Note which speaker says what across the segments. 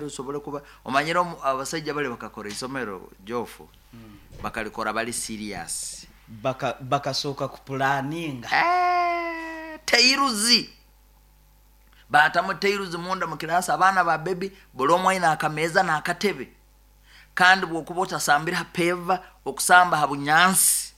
Speaker 1: Osobole kuba omanyire abasaija bali bakakora isomero jofu, bakalikora bali serious.
Speaker 2: Bakasooka kupulaninga.
Speaker 1: Tairuzi batamu tairuzi munda mu kirasi, abaana ba bebi buli omu aine akameeza n'akatebe, kandi bwokuba otasambire ha peva, okusamba ha bunyansi.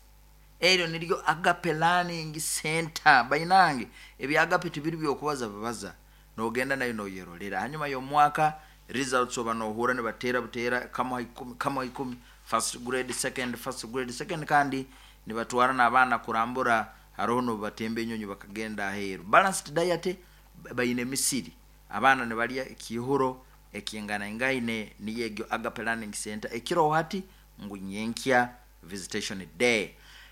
Speaker 1: Eryo niryo Agape Learning Center. Bainange, ebya Agape tibiri byokubaza bubaza, nogenda nayo noyerolera. Hanyuma y'omwaka results oba nohura nibatera butera kamu ha ikumi, kamu ha ikumi, first grade, second, first grade, second, kandi nibatwara n'abaana kurambura, haroho n'obubatemba enyonyi bakagenda aheeru. Balanced diet, baine emisiri, abaana nibalya ekiihuro ekinganaingaine. Niyo egyo Agape Learning Center. Ekiroho hati ngu nyenkya visitation day.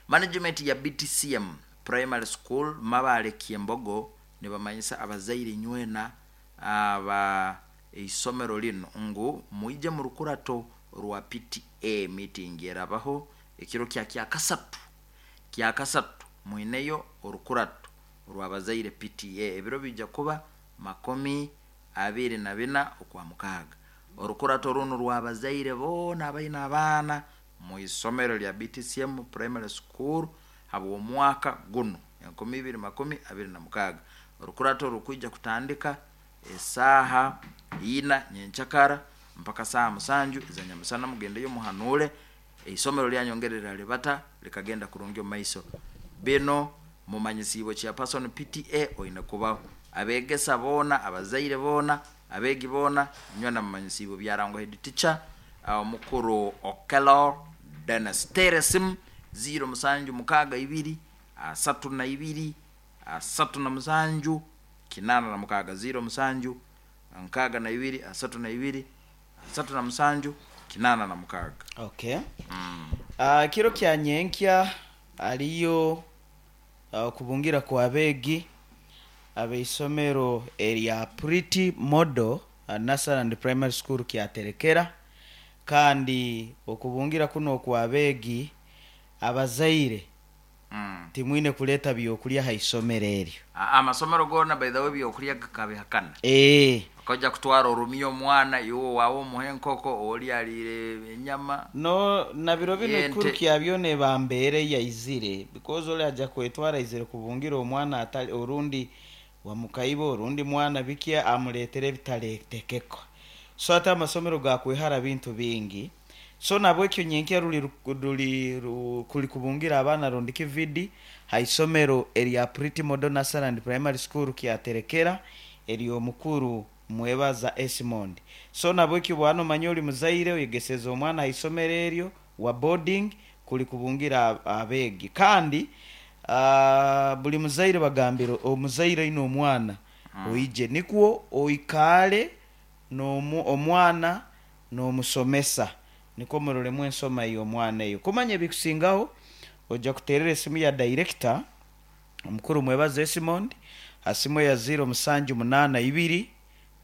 Speaker 1: Management ya BTCM Primary School Mabale Kyembogo nibamanyisa abazaire inywena aba isomero linu ngu mwije mu rukurato rwa PTA meeting erabaho ekiro kya Kyakasatu. Kyakasatu mwineyo orukurato rw'abazaire PTA, ebiro biija kuba 24 okwa mukaaga. Orukurato runu rw'abazaire boona abaine abaana mu isomero lya BTCM Primary School habw'omwaka gunu 2026. Orukurato rukwija kutandika esaaha 4 nyenkyakara mpaka saaha 7 eza nyamusana. Mugendeyo muhanuule isomero lyanyu ngeri liralibata likagenda kurungi omu maiso. Bino mumanyisiibwe chairperson PTA oine kubaho, abeegesa boona, abazaire boona, abeegi boona, nywena mumanyisiibwe. Byarangwa head teacher omukuru Okello Dennis. Teera esimu 0 7 6 2 32 37 86, 0 7 62 32 37 86.
Speaker 2: Okay. Kiro kya nyenkya aliyo okubungira kw'abeegi ab'eisomero erya Pretty Model Nursery and Primary School Kyaterekera, kandi okubungira kunu okw'abeegi, abazaire timwine kuleeta byokulya ha isomero eryo.
Speaker 1: Amasomero goona by the way ebyokulya gakabihakana. Okaija kutwara orumya omwana, iwe owaawe omuhe enkoko, ori aliire enyama
Speaker 2: No na biro binu ekikuru
Speaker 1: y'ente.
Speaker 2: kya byona eba mbeera eyaizire because ori aja kwetwara aizire kubungira omwana atari orundi wamukaiba orundi mwana biki amureetera ebitareetekekwa. So hati amasomero gaakwehara bintu bingi. So nabwekyo nyenkya ruri ruri kuri kubungira abaana rundi kividi ha isomero erya Pretty Model Nursery and Primary School Kyaterekera ery'omukuru Mwebaza Esmond. So nabwekyo bwaba nomanya ori muzaire oyegeseze omwana ha isomero eryo wa boarding kuri kubungira abeegi kandi buri muzaire bagambire omuzaire oine omwana oije nikwo oikaare n'omwana n'omusomesa nikwo muroremu ensoma ey'omwana eyo. Kumanya ebikusingaho, oja kuteerera esimu ya dayirekita omukuru Mwebaze Esimond ha simu eya ziiro musanju munaana ibiri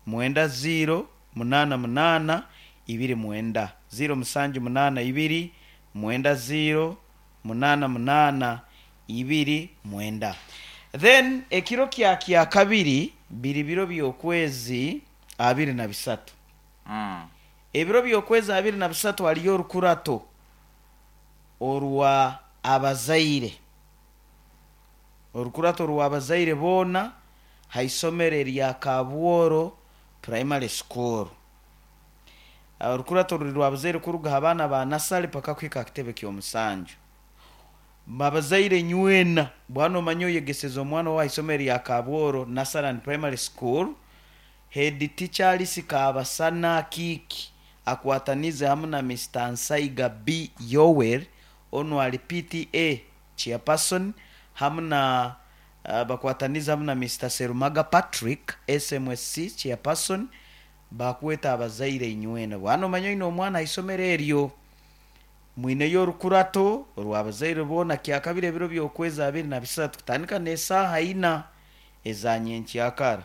Speaker 2: mwenda ziiro munaana munaana ibiri mwenda, ziiro musanju munaana ibiri mwenda ziiro munaana munaana ibiri mwenda. Then ekiro kya Kyakabiri biri biro by'okwezi 23. Ebiro by'okwezi 23 haliyo orukurato orwa abazaire. Orukurato rw'abazaire boona ha isomero erya Kabworo Primary School. Orukurato ruri rw'abazaire kuruga ha baana ba nasale paka kuhika ha kitebe ky'omusanju. Abazaire nywena, bwaba nomanya oyegeseze omwana owawe ha isomero erya Kabworo Nursery and Primary School, Head Teacher Alice Kabasana Akiiki akwatanize hamu na Mister Nsaiga B. Yoweri onu ali PTA Chairperson hamu na bakwatanize hamu na Mister Serumaga Patrick SMSC Chairperson bakweta abazaire inywena. Bwaba nomanya oine omwana ha isomero eryo, mwineyo orukurato orw'abazaire boona kyakabiri ebiro by'okwezi 23 kutandika n'esaaha ina eza nyenkyakara.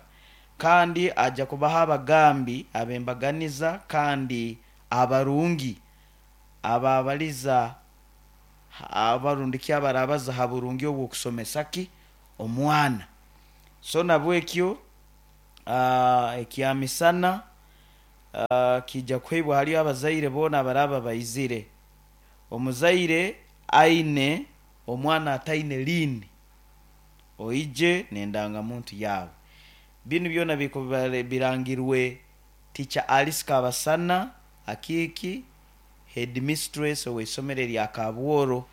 Speaker 2: Kandi aja kubaha abagambi ab'embaganiza kandi abarungi ababaliza abarundi ki abarabaza ha burungi obw'okusomesa ki omwana. So nabwekyo ekyamisana. Kiija kuheibwa hali abazaire boona abaraaba baizire. Omuzaire aine omwana ataine liini, oije n'endangamuntu yaawe. Binu byona bikuba birangirwe Teacher Alice Kabasana Akiiki, Headmistress ow'eisomero erya Kabworo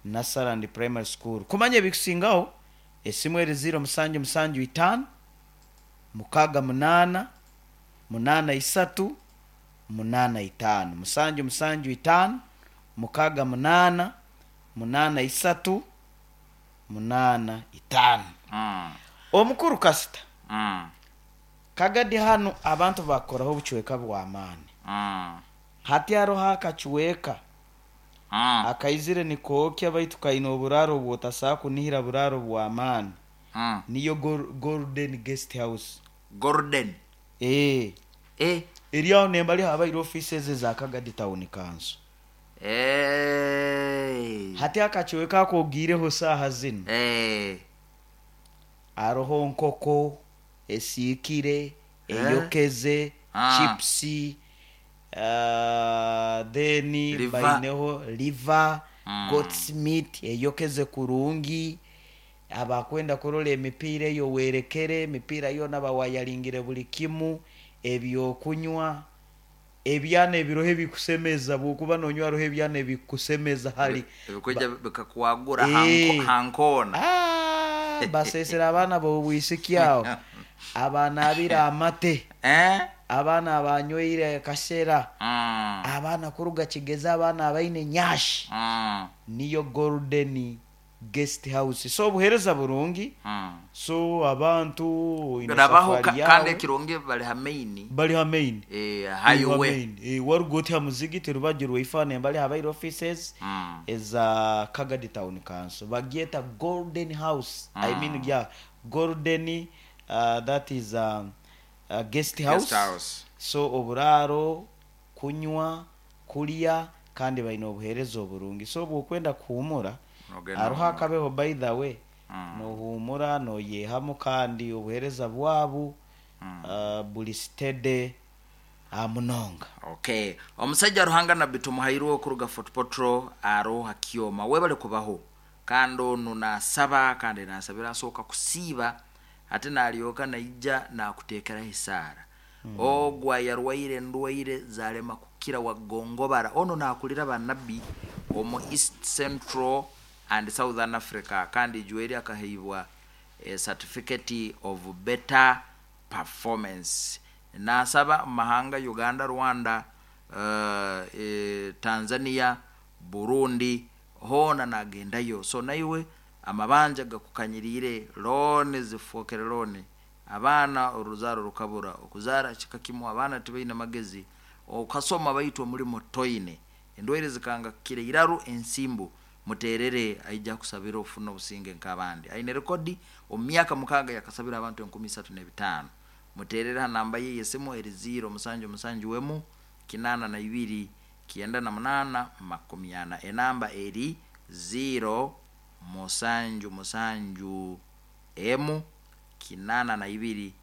Speaker 2: Nursery and Primary School. Kumanya ebikusingaho, esimu eri ziiro musanju musanju itaano, mukaaga munaana, munaana isatu, munaana itaano. Musanju musanju itaano, mukaaga munaana, munaana isatu, munaana itaano. Omukuru kasita Kagadi hanu abantu bakukoraho obucweka bw'amaani. Hati haroho akacweka akaizire nikookya baitu kaine oburaaro obwotasobora kunihira buraaro bw'amaani. Niyo Golden Guest House.
Speaker 1: Golden.
Speaker 2: Eeh.
Speaker 1: Eh.
Speaker 2: Eri aho nembali habaire ofiisi ezo eza Kagadi Town Council.
Speaker 1: Eh.
Speaker 2: Hati akacweka ako ogiireho saaha zinu.
Speaker 1: Eh.
Speaker 2: Haroho nkoko esiikire, eyokeze, chips, then
Speaker 1: Liver.
Speaker 2: baineho liver, goat's meat eyokeze kurungi. Abakwenda kurora emipiira eyo werekere, emipiira yoona bawayaringire buli kimu, ebyokunywa, ebyana ebiroho ebikusemeza, bwokuba nonywa haroho ebyana ebikusemeza hali.
Speaker 1: Ebikwija bikakwagura
Speaker 2: Eh.
Speaker 1: hankoona.
Speaker 2: Ah, basesera abaana b'obwisiki aho, abanaabire amate,
Speaker 1: Eh?
Speaker 2: abaana abanyoire akasera, abaana kuruga Kigezi, abaana abaine nyashi. Niyo Golden Guest House. So obuheereza burungi. So abantu oine
Speaker 1: Rabaho
Speaker 2: safari
Speaker 1: kandi
Speaker 2: yawe.
Speaker 1: ekirungi bali ha main.
Speaker 2: Bali ha main.
Speaker 1: Eh, highway.
Speaker 2: Main. Waruga oti ha muzigiti rubaju rwaifa bali habaire offices eza Kagadi Town Council. Bagyeta Golden House. I mean yeah, Golden that is guest house.
Speaker 1: Guest house.
Speaker 2: So oburaaro, kunywa, kulya kandi baine obuheereza oburungi. So obwokwenda kuhumura,
Speaker 1: Nogenda
Speaker 2: haroho
Speaker 1: huumura.
Speaker 2: akabeho by the way. Nohumura, noyehamu kandi obuheereza bwabu buri steady munonga.
Speaker 1: Okay. Omusajja Ruhanga Nabbi Tumuhairwe okuruga Fort Portal aroha Kyoma. Webale kubaho. Kandi onu nasaba kandi nasabira asooka kusiiba ate nalyoka naija nakuteekeraho esaara. Ogwo yarwaire endwaire zalema kukira wagongobara. Ono nakulira banabbi omu East Central and Southern Africa kandi ijweri akaheibwa a certificate of better performance. Nasaba mahanga Uganda, Rwanda, Tanzania, Burundi hoona nagendayo. So naiwe amabanja gakukanyiriire, looni zifokere looni, abaana oruzaaro rukabura, okuzaara kika kimu, abaana tibaine magezi, okasoma baitu omulimo toine, endwaire zikanga kukira iraru ensimbu, muterere aija kusabira ofuna obusinge nk'abandi. Aine rekodi omu myaka 6 yakasabira abantu 3,500. Muterere ha namba ye y'esimu eri ziro musanju musanju emu kinaana na ibiri kyenda na munaana makumi ana. Enamba eri ziro musanju musanju emu kinaana na ibiri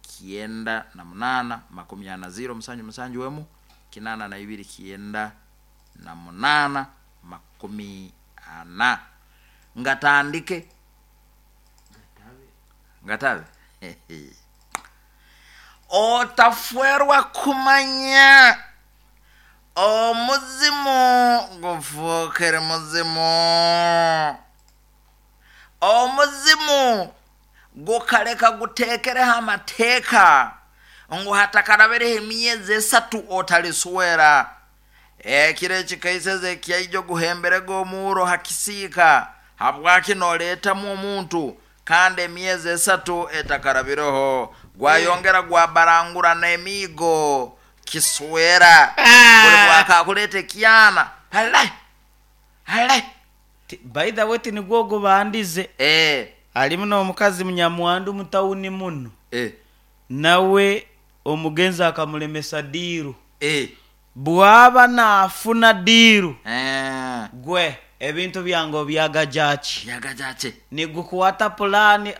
Speaker 1: kyenda na munaana makumi ana. Ziro musanju musanju emu kinaana na ibiri kyenda na munaana makumi ana. Ngatandike ngatabe otafwerwa kumanya omuzimu gufuukire muzimu. Omuzimu gukaleka guteekereho amateeka ngu hatakarabireho emyezi 3 otaliswera. Ekiro ekikaiseze ekyaija guhemberega omuuro hakisiika habwaki noleetamu omuntu kandi emyezi 3 etakarabireho gwayongera gwabarangura n'emiigo kiswera. Buli bwakakuleeta ekyana hale hale.
Speaker 2: By the way tinigwo gubandize. Alimu n'omukazi munyamwandu mutawuni muno. Nawe omugenzi akamulemesa diiru. Bwaba naafuna diiru. Gwe ebintu byange obyagajaki.
Speaker 1: Byagajaki.
Speaker 2: Nigukwata pulani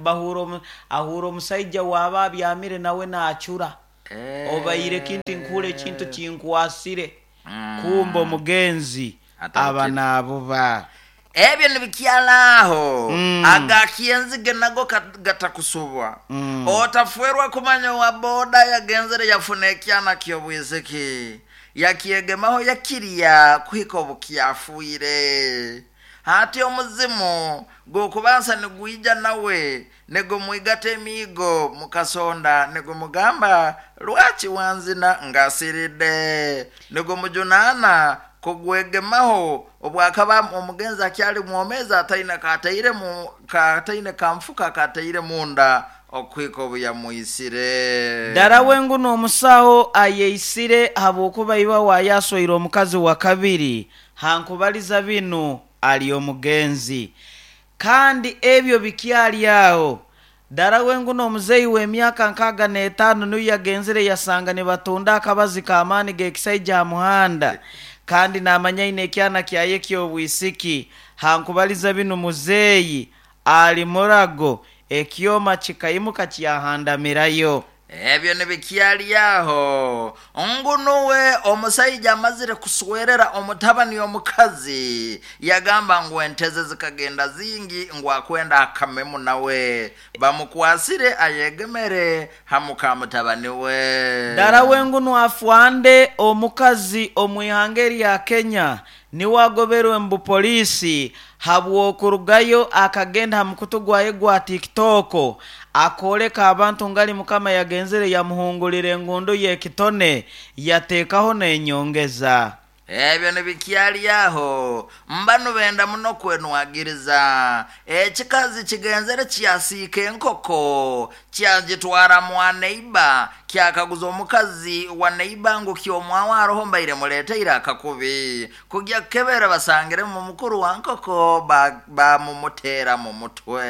Speaker 2: bahura ahura omusaija waba abyamire nawe naacura. Obaire kintu nkuhura ekintu kinkwasire, kumbe omugenzi
Speaker 1: Atabukire.
Speaker 2: aba naabuba.
Speaker 1: Ebyo nibikyalaaho. Agakyenzige nago gatakusubwa. Otafwerwa kumanya wa boda yagenzere yafuna ekyana ky'obwisiki, yakyegemaho, yakirya kuhika obukyafuire. Hati omuzimu gukubansa nigwija nawe nigumwigata emiigo mukasonda, nigumugamba, "Lwaki wanzina ngasiridde?" Nigumujunaana kugwegemaho obwakaba omugenzi akyali mwomezi, ataine kataire mu kataine kamfuka kataire munda okuhika obu yamwisire.
Speaker 2: Ddala wenguno omusawo ayeisire habwokuba iba wayaswaire omukazi wa kabiri. Hankubaliza binu ali omugenzi, kandi ebyo bikyali aho. Ddala wenguno omuzeeyi w'emyaka 65 niyo yagenzire yasanga nibatunda akabazi k'amaani g'ekisaija ha muhanda, kandi naamanya aine ekyana kyaye ky'obwisiki. Hankubaliza binu muzeeyi ali murago, ekyoma kikaimuka kyahandamirayo.
Speaker 1: Ebyo nibikyali aho, ngu nuwe omusaija amazire kuswerera omutabani omukazi, yagamba ngu enteze zikagenda zingi, ngu akwenda akamemu nawe. Bamukwasire ayegemere hamuka mutabani we.
Speaker 2: Ddala wenguno afwande omukazi omu ihanga erya Kenya niwe agoberwe mu bupoliisi habw'okurugayo akagenda ha mukutu gwaye gwa TikTok akooleka abantu ngali Mukama yagenzere yamuhungulira engundu y'ekitone yateekaho n'enyongeza.
Speaker 1: Ebyo nibikyali aho, mbanu benda muno kwenwagiriza. Ekikazi kigenzere kyasiika enkoko, kyagitwara mwa neiba, kyakaguza omukazi wa neiba ngu, "Kyomwawe aroho? Mbaire muleteire akakubi." Kujya kukebera basangiremu mukuru wa nkoko, bamumuteera mu mutwe.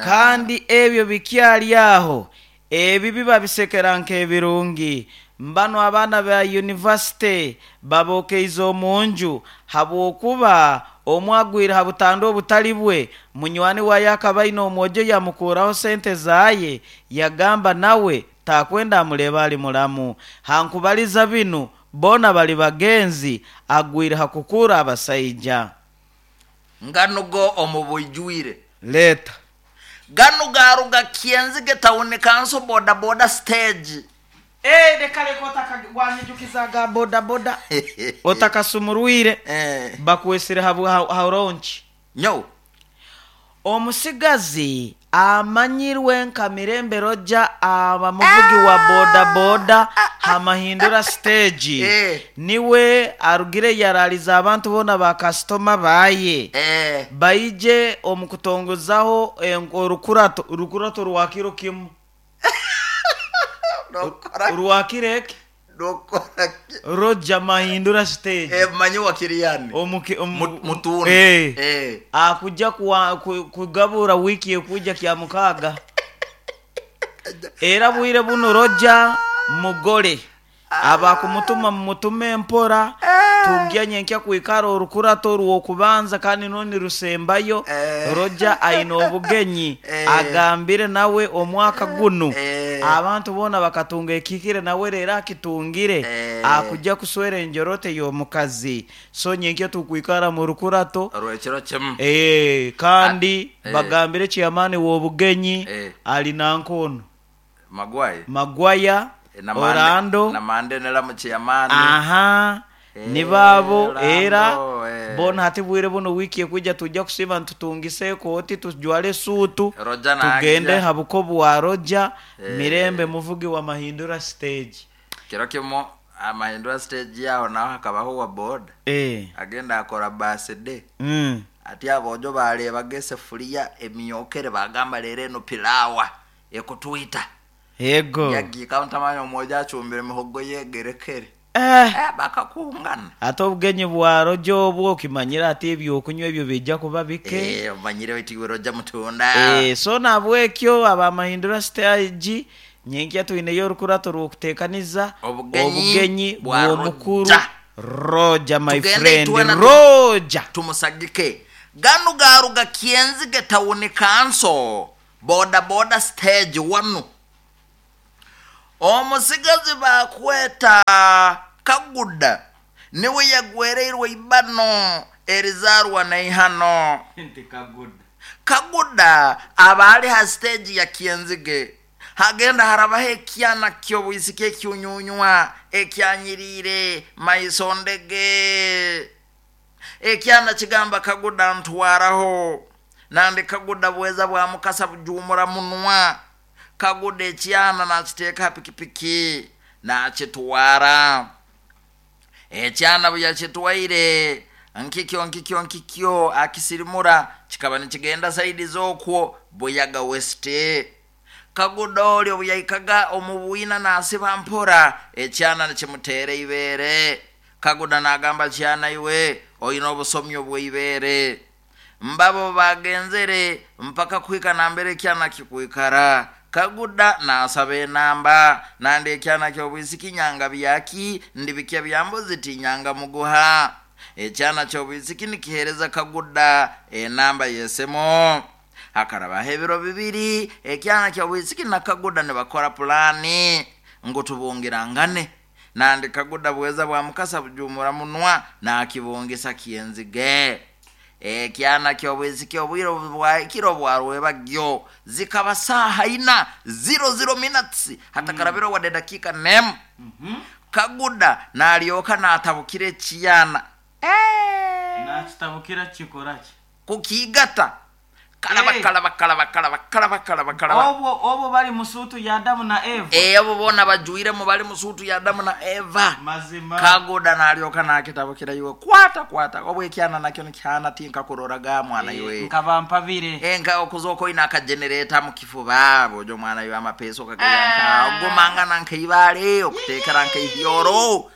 Speaker 2: Kandi ebyo bikyali aho, ebibi babisekera nk'ebirungi. Mbanu abaana ba yunivasite babokeize omu nju habwokuba omwe agwire ha butanda obutali bwe. Munywani waye akaba aine omwojo, yamukuraho sente zaye, yagamba nawe takwenda amuleba ali mulamu. Hankubaliza binu boona bali bagenzi, agwire ha kukura abasaija.
Speaker 1: Nganugo omu bwijwire.
Speaker 2: Leeta.
Speaker 1: Ganu garuga Kyenzige Town Council boda boda stage.
Speaker 2: Leka leka, waanyijukiza ga boda boda otakasumurwire. Bakwesire ha launch.
Speaker 1: Nyo.
Speaker 2: Omusigazi amanyirwe nka Mirembe Roja, aba muvugi wa boda boda hamahindura stage, niwe arugire yaraliza abantu boona bakasitoma baye baije omu kutongozaho orukurato, rukurato rwa kiro kimu.
Speaker 1: Nokora.
Speaker 2: Rwakiro eki.
Speaker 1: Nokora ki?
Speaker 2: Roja Mahindura stage.
Speaker 1: Manyi wakiriyani. Mutunda.
Speaker 2: Akujja kugabura wiiki ekuija kya mukaaga. Era bwire buno Roja mugole abakumutuma mumutume empora. Tugya nyenkya kwikara orukurato orw'okubanza kandi noni rusembayo. Roja aine obugenyi, agambire nawe omwaka gunu abantu boona bakatunga ekihikire, nawe rero akitungire. Akujja kuswera enjorote y'omukazi, so nyenkya tukwikara mu rukurato
Speaker 1: orwekiro kimu.
Speaker 2: Kandi bagambire chairman w'obugenyi ali nankono.
Speaker 1: Magwaye.
Speaker 2: Magwaya. Orlando.
Speaker 1: Namande nera chairman.
Speaker 2: Aha, nibaabo.
Speaker 1: Orlando,
Speaker 2: era bona hati bwire buno wiiki ekwijja tujja kusiiba nitutungisa ekooti, tujwale esuutu,
Speaker 1: Roja
Speaker 2: tugende
Speaker 1: naija.
Speaker 2: ha buko bwa Roja Mirembe, muvugi wa Mahindura stage.
Speaker 1: Kiro kimu amahindura stage yaho naho hakabaho wa boda agenda akora birthday. Ati abojo barebaga esefuriya emyokere, bagamba, "Rero eno pilawa ekutwita." Yagiika ntamanya omwojo acumbire emihogo yegerekere. Bakakungana.
Speaker 2: Ate obugenyi bwa Roja obwo okimanyire ati ebyokunywa ebyo bijja kuba bike.
Speaker 1: Omanyire wetiwe Roja mutunda.
Speaker 2: So nabwekyo abamahindura stage, nyenkya twineyo orukurato rw'okuteekaniza
Speaker 1: obugenyi
Speaker 2: obugenyi
Speaker 1: bwa
Speaker 2: bw'omukuru
Speaker 1: Roja.
Speaker 2: Roja my
Speaker 1: Tugende
Speaker 2: friend
Speaker 1: itwena
Speaker 2: Roja.
Speaker 1: Tumusagike. Ganu garuga Kyenzige Town Council boda boda stage wanu. Omusigazi bakweta Kaguda niwe yagwereirwe ibano erizarwa naihano.
Speaker 2: Nti Kaguda.
Speaker 1: Kaguda aba ali ha stage ya Kyenzige, hagenda harabaho ekyana ky'obwisiki ekyunyunywa ekyanyiriire maiso ndege. Ekyana kigamba Kaguda ntwaraho, nandi Kaguda bweza bwa mukasa bujumura munwa. Kaguda ekyana nakiteeka ha pikipiki nakitwara. Ekyana bwe yakitwaire nkikyo nkikyo nkikyo akisirimura, kikaba nikigenda saidi z'okwo Buyaga West. Kaguda oli obu yaikaga omu bwina nasiba mpora, ekyana nikimuteera ibeere. Kaguda nagamba, kyana iwe oine obusomyo bw'ibeere. Mbabo bagenzere mpaka kuhika nambere ekyana kikwikara. Kaguda nasaba enamba, nandi ekyana ky'obwisiki nyanga byaki ndibikya bya mbuzi tinyanga muguha. Ekyana ky'obwisiki nikihereza Kaguda enamba yesemo. Hakarabaho ebiro 2, ekyana ky'obwisiki na Kaguda nibakora pulani ngu tubungirangane. Nandi Kaguda bweza bwa mukasa bujumura munwa nakibungisa Kyenzige. Ekyana ky'obwisiki obwire bwahikire bwarwebagyo, zikaba saaha ina 00 minutes, hatakarabira wadde dakika nemu. Kaguda nalyoka natabukira ekyana.
Speaker 2: Nakitabukira kikoraki?
Speaker 1: Kukigata. Kalaba, kalaba, kalaba, kalaba, kalaba, kalaba, kalaba.
Speaker 2: Obwo bali musuutu ya Adamu na Eva.
Speaker 1: Abo bona bajwiremu bali musuutu ya Adamu na Eva.
Speaker 2: Mazima.
Speaker 1: Kaguda nalyoka nakitabukira iwe kwata kwata. Obwo ekyana nakyo nikyana tinka kuroraga mwana iwe.
Speaker 2: Nkaba mpabire.
Speaker 1: Nka okuzoko ina akagenereta mu kifuba bojo mwana iwe amapeso kagaya. Ogumangana nkaibale okutekera nkaihyoro.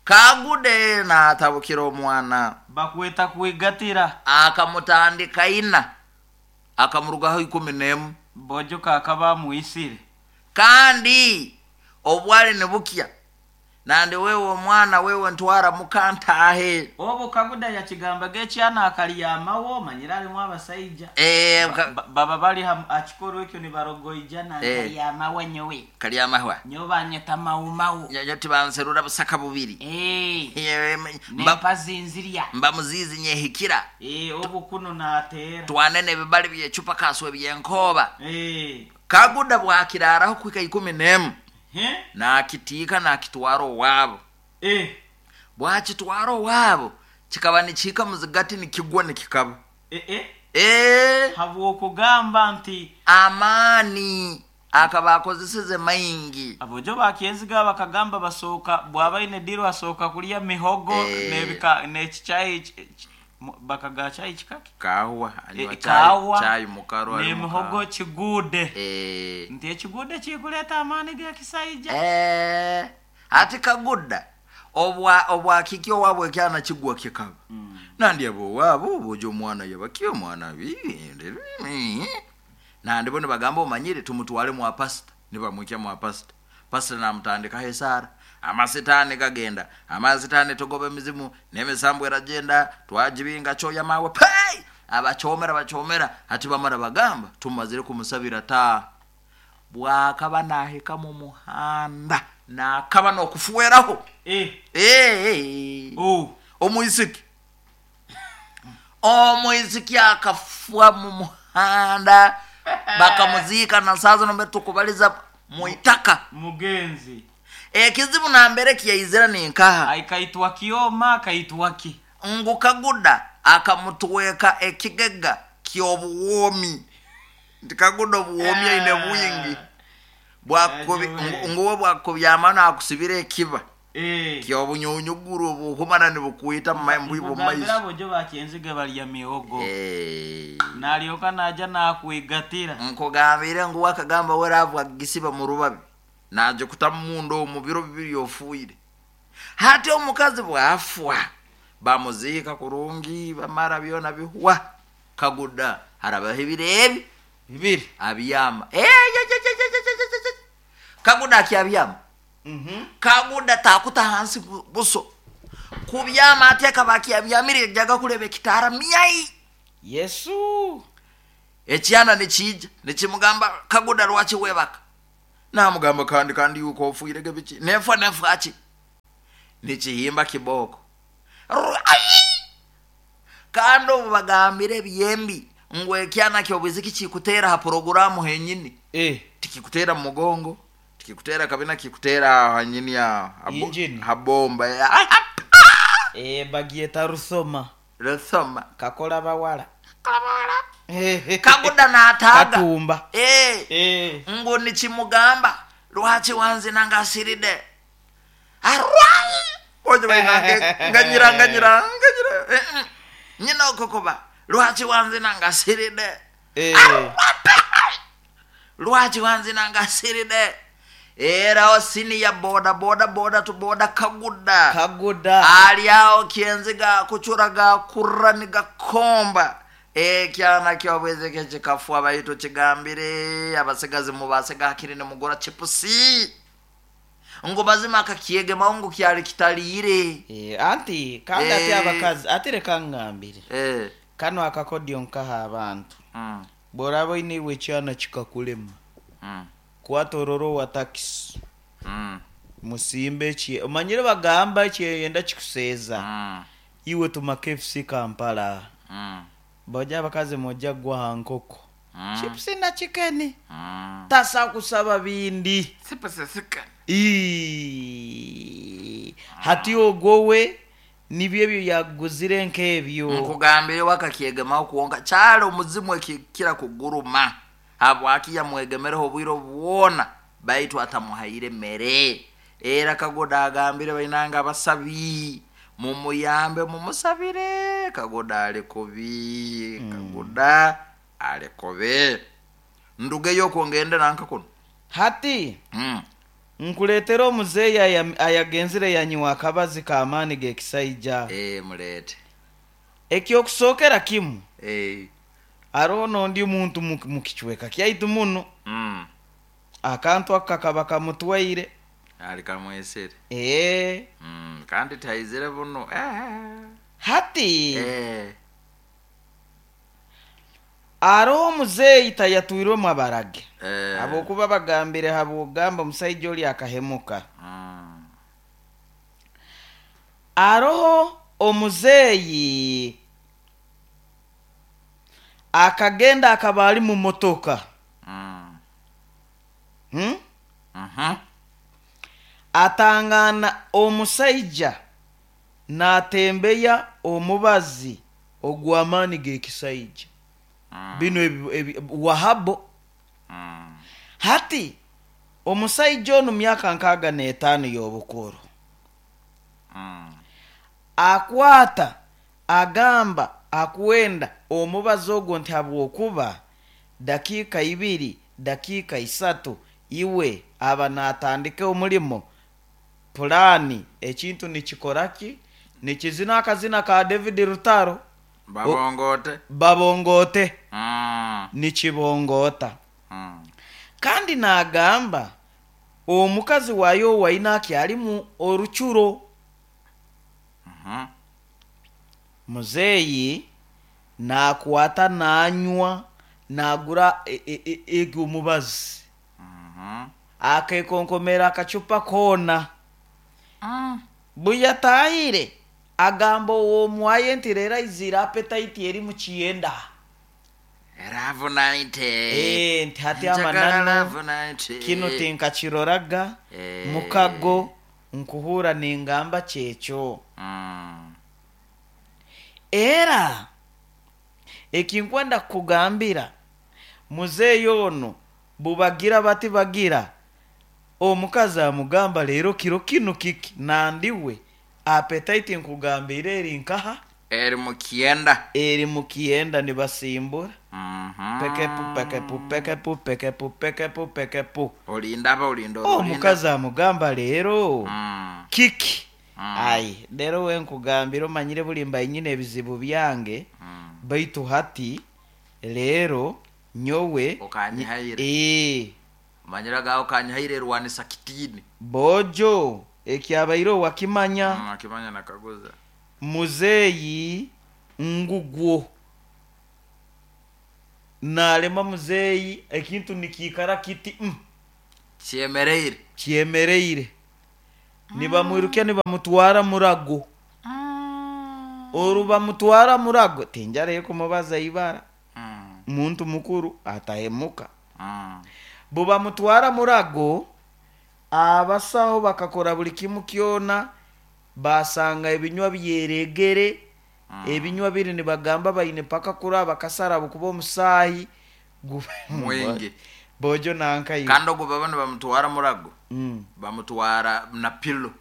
Speaker 1: Kagude natabukira omwana.
Speaker 2: Bakweta kuigatira.
Speaker 1: Akamutandika ina. Akamurugaho 11.
Speaker 2: Bojo kakaba muisire.
Speaker 1: Kandi obwali nibukya. Nandi wewe omwana wewe ntwara mukantahe.
Speaker 2: Obo Kaguda yakigamba gekyana akalyamawo manyira alimu abasaija. Baba bali akikoro ekyo nibarogoija na kalyamawo nyowe.
Speaker 1: Kalyamahwa.
Speaker 2: Nyowe banyeta maumawo.
Speaker 1: Nyowe tibanserura busaka bubiri.
Speaker 2: Nempazinzirya.
Speaker 1: Mba muzizi nyehikira.
Speaker 2: Obo kuno naatera.
Speaker 1: Twanene ebibali byechupa kaswe byenkoba. Kaguda bwakiraraho kwika 11. Nakitika nakitwara owabo. Bwakitwara owabo kikaba nikihika muzigati nikigwa nikikaba.
Speaker 2: Habwokugamba nti
Speaker 1: amaani akaba akozeseze maingi.
Speaker 2: Abojo bakyenziga bakagamba basoka bwabaine diro asoka kulya mihogo nebika nekichayi bakaga chai chikaki
Speaker 1: kawa
Speaker 2: kawa
Speaker 1: chai mukaro
Speaker 2: ne mihogo kigude. Nti ekigude kikuleta amaani ga kisaija.
Speaker 1: Ati Kaguda obwa kikyo wabwe kyana kigwa kikaba. Nandi abo wabo bojo omwana yabakiyo omwana nandi bo nibagamba omanyire tumutwale mwa pastor. Nibamwikya mwa pastor. Pastor namutandika hesara. Amasitani kagenda, amasitani tugobe mizimu n'emisambu eragenda, twagibinga kyoya mawe pei. Abachomera bachomera hati bamara bagamba tumazire kumusabira ta. Bwakaba nahika mu muhanda nakaba nokufuweraho. Omwisiki. Omwisiki akafua mu muhanda bakamuzika na sazo nombe tukubaliza muitaka
Speaker 2: mugenzi.
Speaker 1: Ekizibu nambere kiyaizira ninkaha.
Speaker 2: Aikaitwa kioma akaitwa ki.
Speaker 1: Ngu Kaguda akamutweka ekigega ky'obuwomi. Nti Kaguda obuwomi aine bwingi. Nguwe bwakubyama akusibira ekiba. Ky'obunyunyuguru obuhumana nibukwita mu maiso.
Speaker 2: Bojo bakyenziga balya mihogo. Nalyoka naja nakwigatira.
Speaker 1: Nkugambire nguwe akagamba weravu agisiba mu rubabi. Naje kutamundo mu biro bibiri ofuire. Hati omukazi bwafwa bamuzika kurungi bamara byona bihwa. Kaguda harabaho ebirebi
Speaker 2: bibiri
Speaker 1: abiyama. Kaguda akyabyama. Kaguda takuta hansi buso. Kubyama ateka bakyabyamire jaga kulebe kitara myai.
Speaker 2: Yesu.
Speaker 1: Ekyana nikija nikimugamba Kaguda lwaki webaka. Namugamba kandi kandi yuko ofuirege biki nefa nefaki nikihimba kiboko. Ai! Kandi obu bagambire ebyembi ngu ekyana kyobwiziki kikuteera ha poroguramu henyini. Tikikuteera mu mugongo, tikikuteera kabina, kikuteera hanyini
Speaker 2: Injini.
Speaker 1: ha bomba.
Speaker 2: Bagyeta rusoma.
Speaker 1: Rusoma.
Speaker 2: Kakola bawala.
Speaker 1: Kaguda n'ataaga.
Speaker 2: Katumba.
Speaker 1: Ngu nikimugamba lwaki wanzina ngasiride arwai ojo bainange nganyira nganyira nganyira. Nyina okokoba lwaki wanzina ngasiride. Lwaki wanzina ngasiride. Era osini ya boda boda boda tu boda kaguda.
Speaker 2: Kaguda.
Speaker 1: Ali awo kyenziga kuchura gakurra nigakomba. Ekyana kyobwezeke kikafuwa baitu kigambire abasigazi mubasega hakiri nimugura chipusi ngu mazima akakyegemaho ngu kyali kitaliire.
Speaker 2: Anti kandi ati abakazi ati reka ngambire. Kano akakodyo nkaha abantu. Bw'oraba oine iwe ekyana kikakulema. Kwata ororo wa takisi. Musimbe eki omanyire bagamba ekyeyenda kikuseeza. Iwe tuma KFC Kampala. Bojja abakazi mojja gwa ha nkoko. Chipusi na chicken. Tasa kusaba bindi. Hati ogwowe nibyo ebyo yaguzire nk'ebyo.
Speaker 1: Nkugambire wakakyegemaho kuwonka kyali omuzimu ekikira kuguruma. Habwaki yamwegemereho obwire bwona baitu atamuhaire mere. Era Kagoda agambire bainanga abasabi mumuyambe mumusabire. Kagoda ali kubi. Kagoda ali kubi. Ndugeyo okwo ngende nanka kuno.
Speaker 2: Hati nkuleetera omuzeeyi ayagenzire yanyiwa akabazi k'amaani g'ekisaija.
Speaker 1: Muleete.
Speaker 2: Ekyokusookera kimu. Hariho n'ondi muntu mu kicweka kyaitu muno. Akantu ako kakaba kamutwaire.
Speaker 1: Ali kamwesere. Kandi taizire buno.
Speaker 2: Hati hariho omuzeeyi tayatwirwemu abarage. Habwokuba bagambire habwogamba omusaija oli akahemuka. Hariho omuzeeyi akagenda akaba ali mu motoka. Atangana omusaija n'atembeya omubazi ogw'amaani g'ekisaija. Bino wahabo. Hati omusaija onu myaka 65 y'obukuru. Akwata agamba akwenda omubazi ogwo nti habwokuba dakiika 2 dakiika 3 iwe aba n'atandika omulimo pulani ekintu nikikoraki nikizina akazina ka David Rutaro.
Speaker 1: Babongote.
Speaker 2: Babongote. Nikibongota. Kandi n'agamba omukazi wayo waina akyalimu orucuro. Muzeeyi nakwata nanywa nagura ego omubazi. Akekonkomera akacupa koona. Buyatahire agamba ow'omwaye nti rero aizire appetite eri mu kiyenda.
Speaker 1: Love night.
Speaker 2: Nti hati amananu kino tinkakiroraga. Mukago nkuhura ningamba kyekyo. Era ekinkwenda kukugambira muzeeyi ono bubagira bati bagira omukazi amugamba leero kiro kino kiki nandiwe appetite nkugambire eri nkaha
Speaker 1: eri mukienda
Speaker 2: eri mukienda nibasimbura. Pekepu pekepu pekepu pekepu pekepu pekepu
Speaker 1: olindaba olinda
Speaker 2: omukazi amugamba leero kiki. Ai leero we nkugambira omanyire buli mba nyine ebizibu byange. Baitu hati leero nyowe
Speaker 1: okanyihaire. Manyira gawo kanyihaire rwanisa kitini
Speaker 2: bojo ekyabaire wakimanya.
Speaker 1: Akimanya nakaguza
Speaker 2: muzeeyi ngugwo nalema muzeeyi ekintu nikiikara kiti.
Speaker 1: Kyemereire.
Speaker 2: Kyemereire, nibamwirukya, nibamutwara Murago. Oru bamutwara Murago, tinjarayo kumubaza ibara, muntu mukuru atahemuka. Bo bamutwara Murago, abasaho bakakora buli kimu kyona, basanga ebinywa byeregere. Ebinywa biri nibagamba baine paka kuraba bakasara kuba omusaahi
Speaker 1: Mwingi.
Speaker 2: Bojo nankayo.
Speaker 1: Kandi ogwo baba nibamutwara Murago, bamutwara na pilo.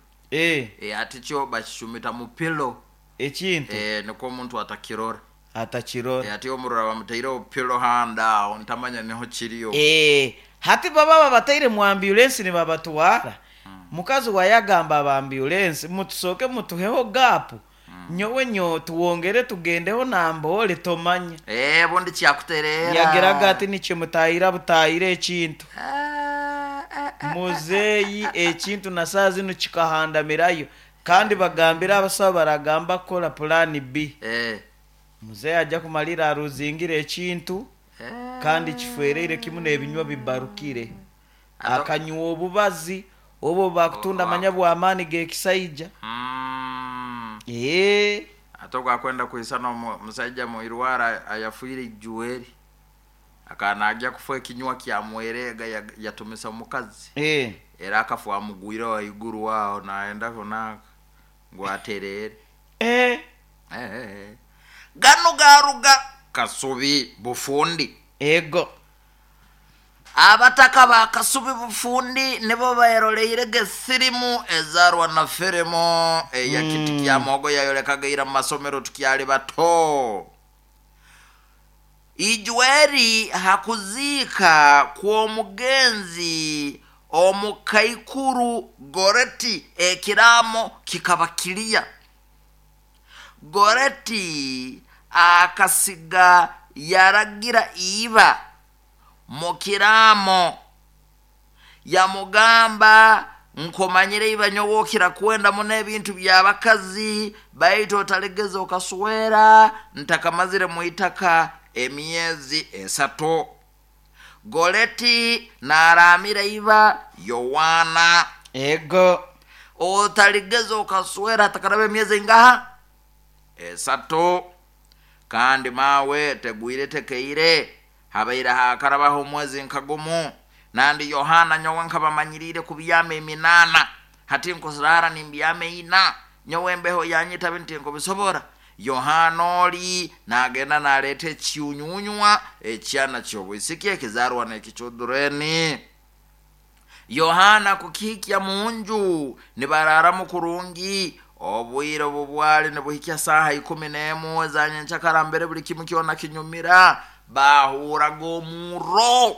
Speaker 1: Ati kyo bakishumita mu pilo.
Speaker 2: Ekintu.
Speaker 1: Nikwo omuntu atakirora.
Speaker 2: Atakirora.
Speaker 1: Ati omurora bamutaireho pilo handa aho, ntamanya niho kiriyo.
Speaker 2: Hati baba babataire mu ambulensi nibabatwara, mukazi wayagamba aba ambulensi, mutusooke mutuheho gaapu, nyowe nyo tuwongere tugendeho nambole tomanya.
Speaker 1: Bundi kyakuterera.
Speaker 2: Yageraga ati nikimutahira butahira ekintu.
Speaker 1: Ah, ah, ah.
Speaker 2: Muzeeyi ekintu na saa zino kikahandamirayo, kandi bagambira abasawo baragamba kukola plan B. Muzeeyi ajja kumalira aruzingira ekintu. Kandi kifereire kimu n'ebinywa bibarukire. Akanywa obubazi obwo bakutunda, manya bw'amaani g'ekisaija.
Speaker 1: Ate ogwakwenda kwisana omusaija muirwara ayafiire ijueri, akana ajya kufa ekinywa kyamwerega, yatumisa omukazi. Era akafa amugwire waiguru waho naenda kunaka ngu aterere. Gano garuga Kasubi Bufundi.
Speaker 2: Ego.
Speaker 1: Abataka ba Kasubi Bufundi nibo baeroleire gesirimu ezarwa na firimu eya Kiti kya Mogo yayolekaga mu masomero tukyali bato. Ijweri hakuziika kw'omugenzi omukaikuru Goreti, ekiraamo kikaba kiriya. Goreti akasiga yaragira iba mu kiraamo, yamugamba, nkomanyire iba nyowe kwenda muno ebintu by'abakazi, baitu otalegeza okaswera ntakamazire mu itaka emyezi 3. Goleti naramira iba Yowana.
Speaker 2: Ego.
Speaker 1: Otaligeza okaswera atakaraba emyezi ingaha? 3. Kandi mawe tegwire tekeire, habaire hakarabaho omwezi nkagumu. Nandi Yohana nyowe nkabamanyirire kubyama 8, hati nkusirara nimbyama 4, nyowe embeho yanyitabe nti nkubisobora. Yohana oli nagenda naleeta ekiunyunywa ekyana ky'obwisiki ekizarwa n'ekichudureni. Yohana kukihikya munju, nibararamu kurungi. Obwire obu bwali nibuhikya saaha 11 ezanyenkyakara, mbere buli kimu kyona kinyumira, bahuraga omurro.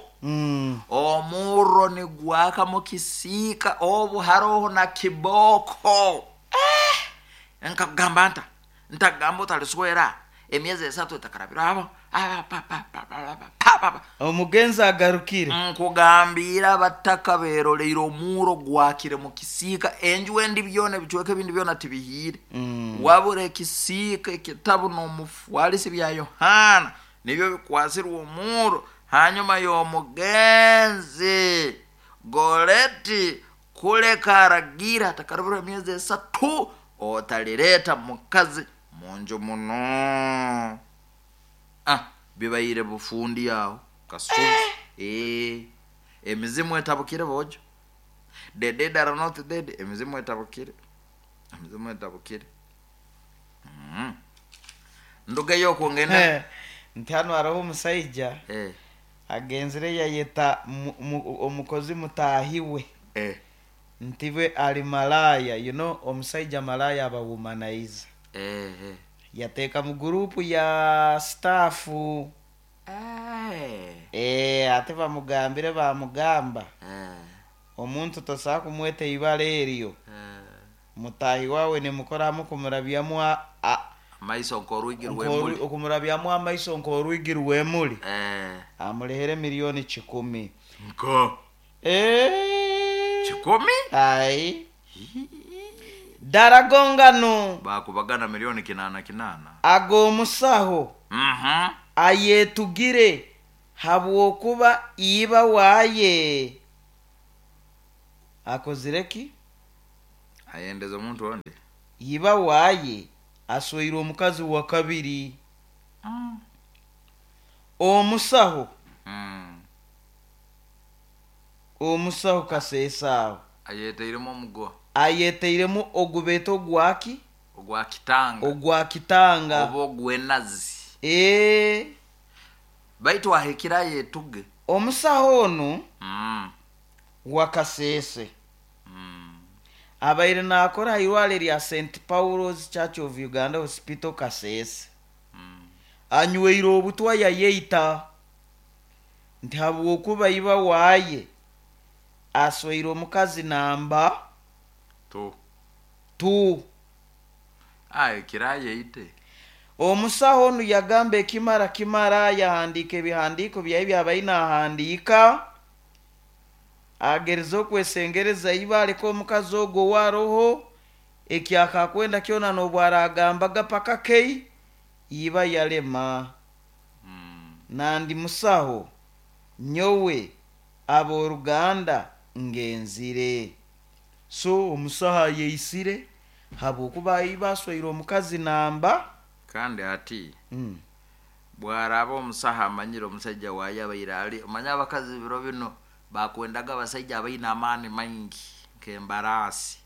Speaker 1: Omurro nigwaka mu kisiika, obu haroho na kiboko. Nkakugamba nta ntagamba otaliswera emyezi 3 etakarabira abo.
Speaker 2: Omugenzi agarukire.
Speaker 1: Nkugambira abataka beroleire omuro gwakire mu kisiika, enju endi byona ebicweka ebindi byona tibihiire. Wabura ekisiika, ekitabu n'omufwalisi bya Yohana nibyo bikwasirwe omuro. Hanyuma y'omugenzi Goreti kuleka aragira atakarabira emyezi 3 otalireta mukazi munju muno. Bibaire Bufundi aho Kasubi. Emizimu etabukire bojo. The dead are not dead. Emizimu etabukire, emizimu etabukire. Ndugeyo okwongenda.
Speaker 2: Nti hano hariho omusaija agenzire yayeta omukozi mutaahi we. Ntibe ali malaya, omusaija malaya aba womanizer. Yateeka mu gurupu ya staff. Ate bamugambire, bamugamba, omuntu tosobola kumweta ibara eryo. Mutahi wawe nimukoramu kumurabyamu
Speaker 1: amaiso nk'orwigi rw'emuli.
Speaker 2: Okumurabyamu amaiso nk'orwigi rw'emuli. Amulehere 100,000,000.
Speaker 1: Nko 100?
Speaker 2: Ai daragongano.
Speaker 1: Bakubagana 800,000,000.
Speaker 2: Ag'omusaho ayetugire habwokuba iba waye. Akozire ki?
Speaker 1: Ayendeza omuntu ondi.
Speaker 2: Iba waaye asweire omukazi wa kabiri. Omusaho. Omusaho Kaseesa aho.
Speaker 1: Ayeteiremu omuguha.
Speaker 2: Ayeteiremu ogubeeta ogwaki?
Speaker 1: Ogwa kitanga.
Speaker 2: Ogwa kitanga.
Speaker 1: Oba ogw'enazi.
Speaker 2: Ee.
Speaker 1: Baitu ahikire ayetuge.
Speaker 2: Omusaho onu wa Kasese abaire naakora ha irwariro erya St. Paul's Church of Uganda Hospital Kasese. Anyweire obutwa yayeita nti habwokuba iba waaye asweire omukazi namba
Speaker 1: 2.
Speaker 2: 2.
Speaker 1: Ahikire ayeite.
Speaker 2: Omusaho onu yagamba ekimara kimara, yahandiika ebihandiiko byaye byabaire nahandiika, agereza okwesengereza iba aleke omukazi ogwo owaroho ekyakakwenda kyona n'obu aragambaga paka kei iba yalema. Nandi musaho nyowe ab'oruganda ngenzire. So omusaho ayeisire habwokuba iba asweire omukazi namba.
Speaker 1: Kandi ati bwaraba omusaho amanyire omusaija waaye abaire ali, omanye abakazi biro bino bakwendaga abasaija abaine amaani maingi nk'embaraasi.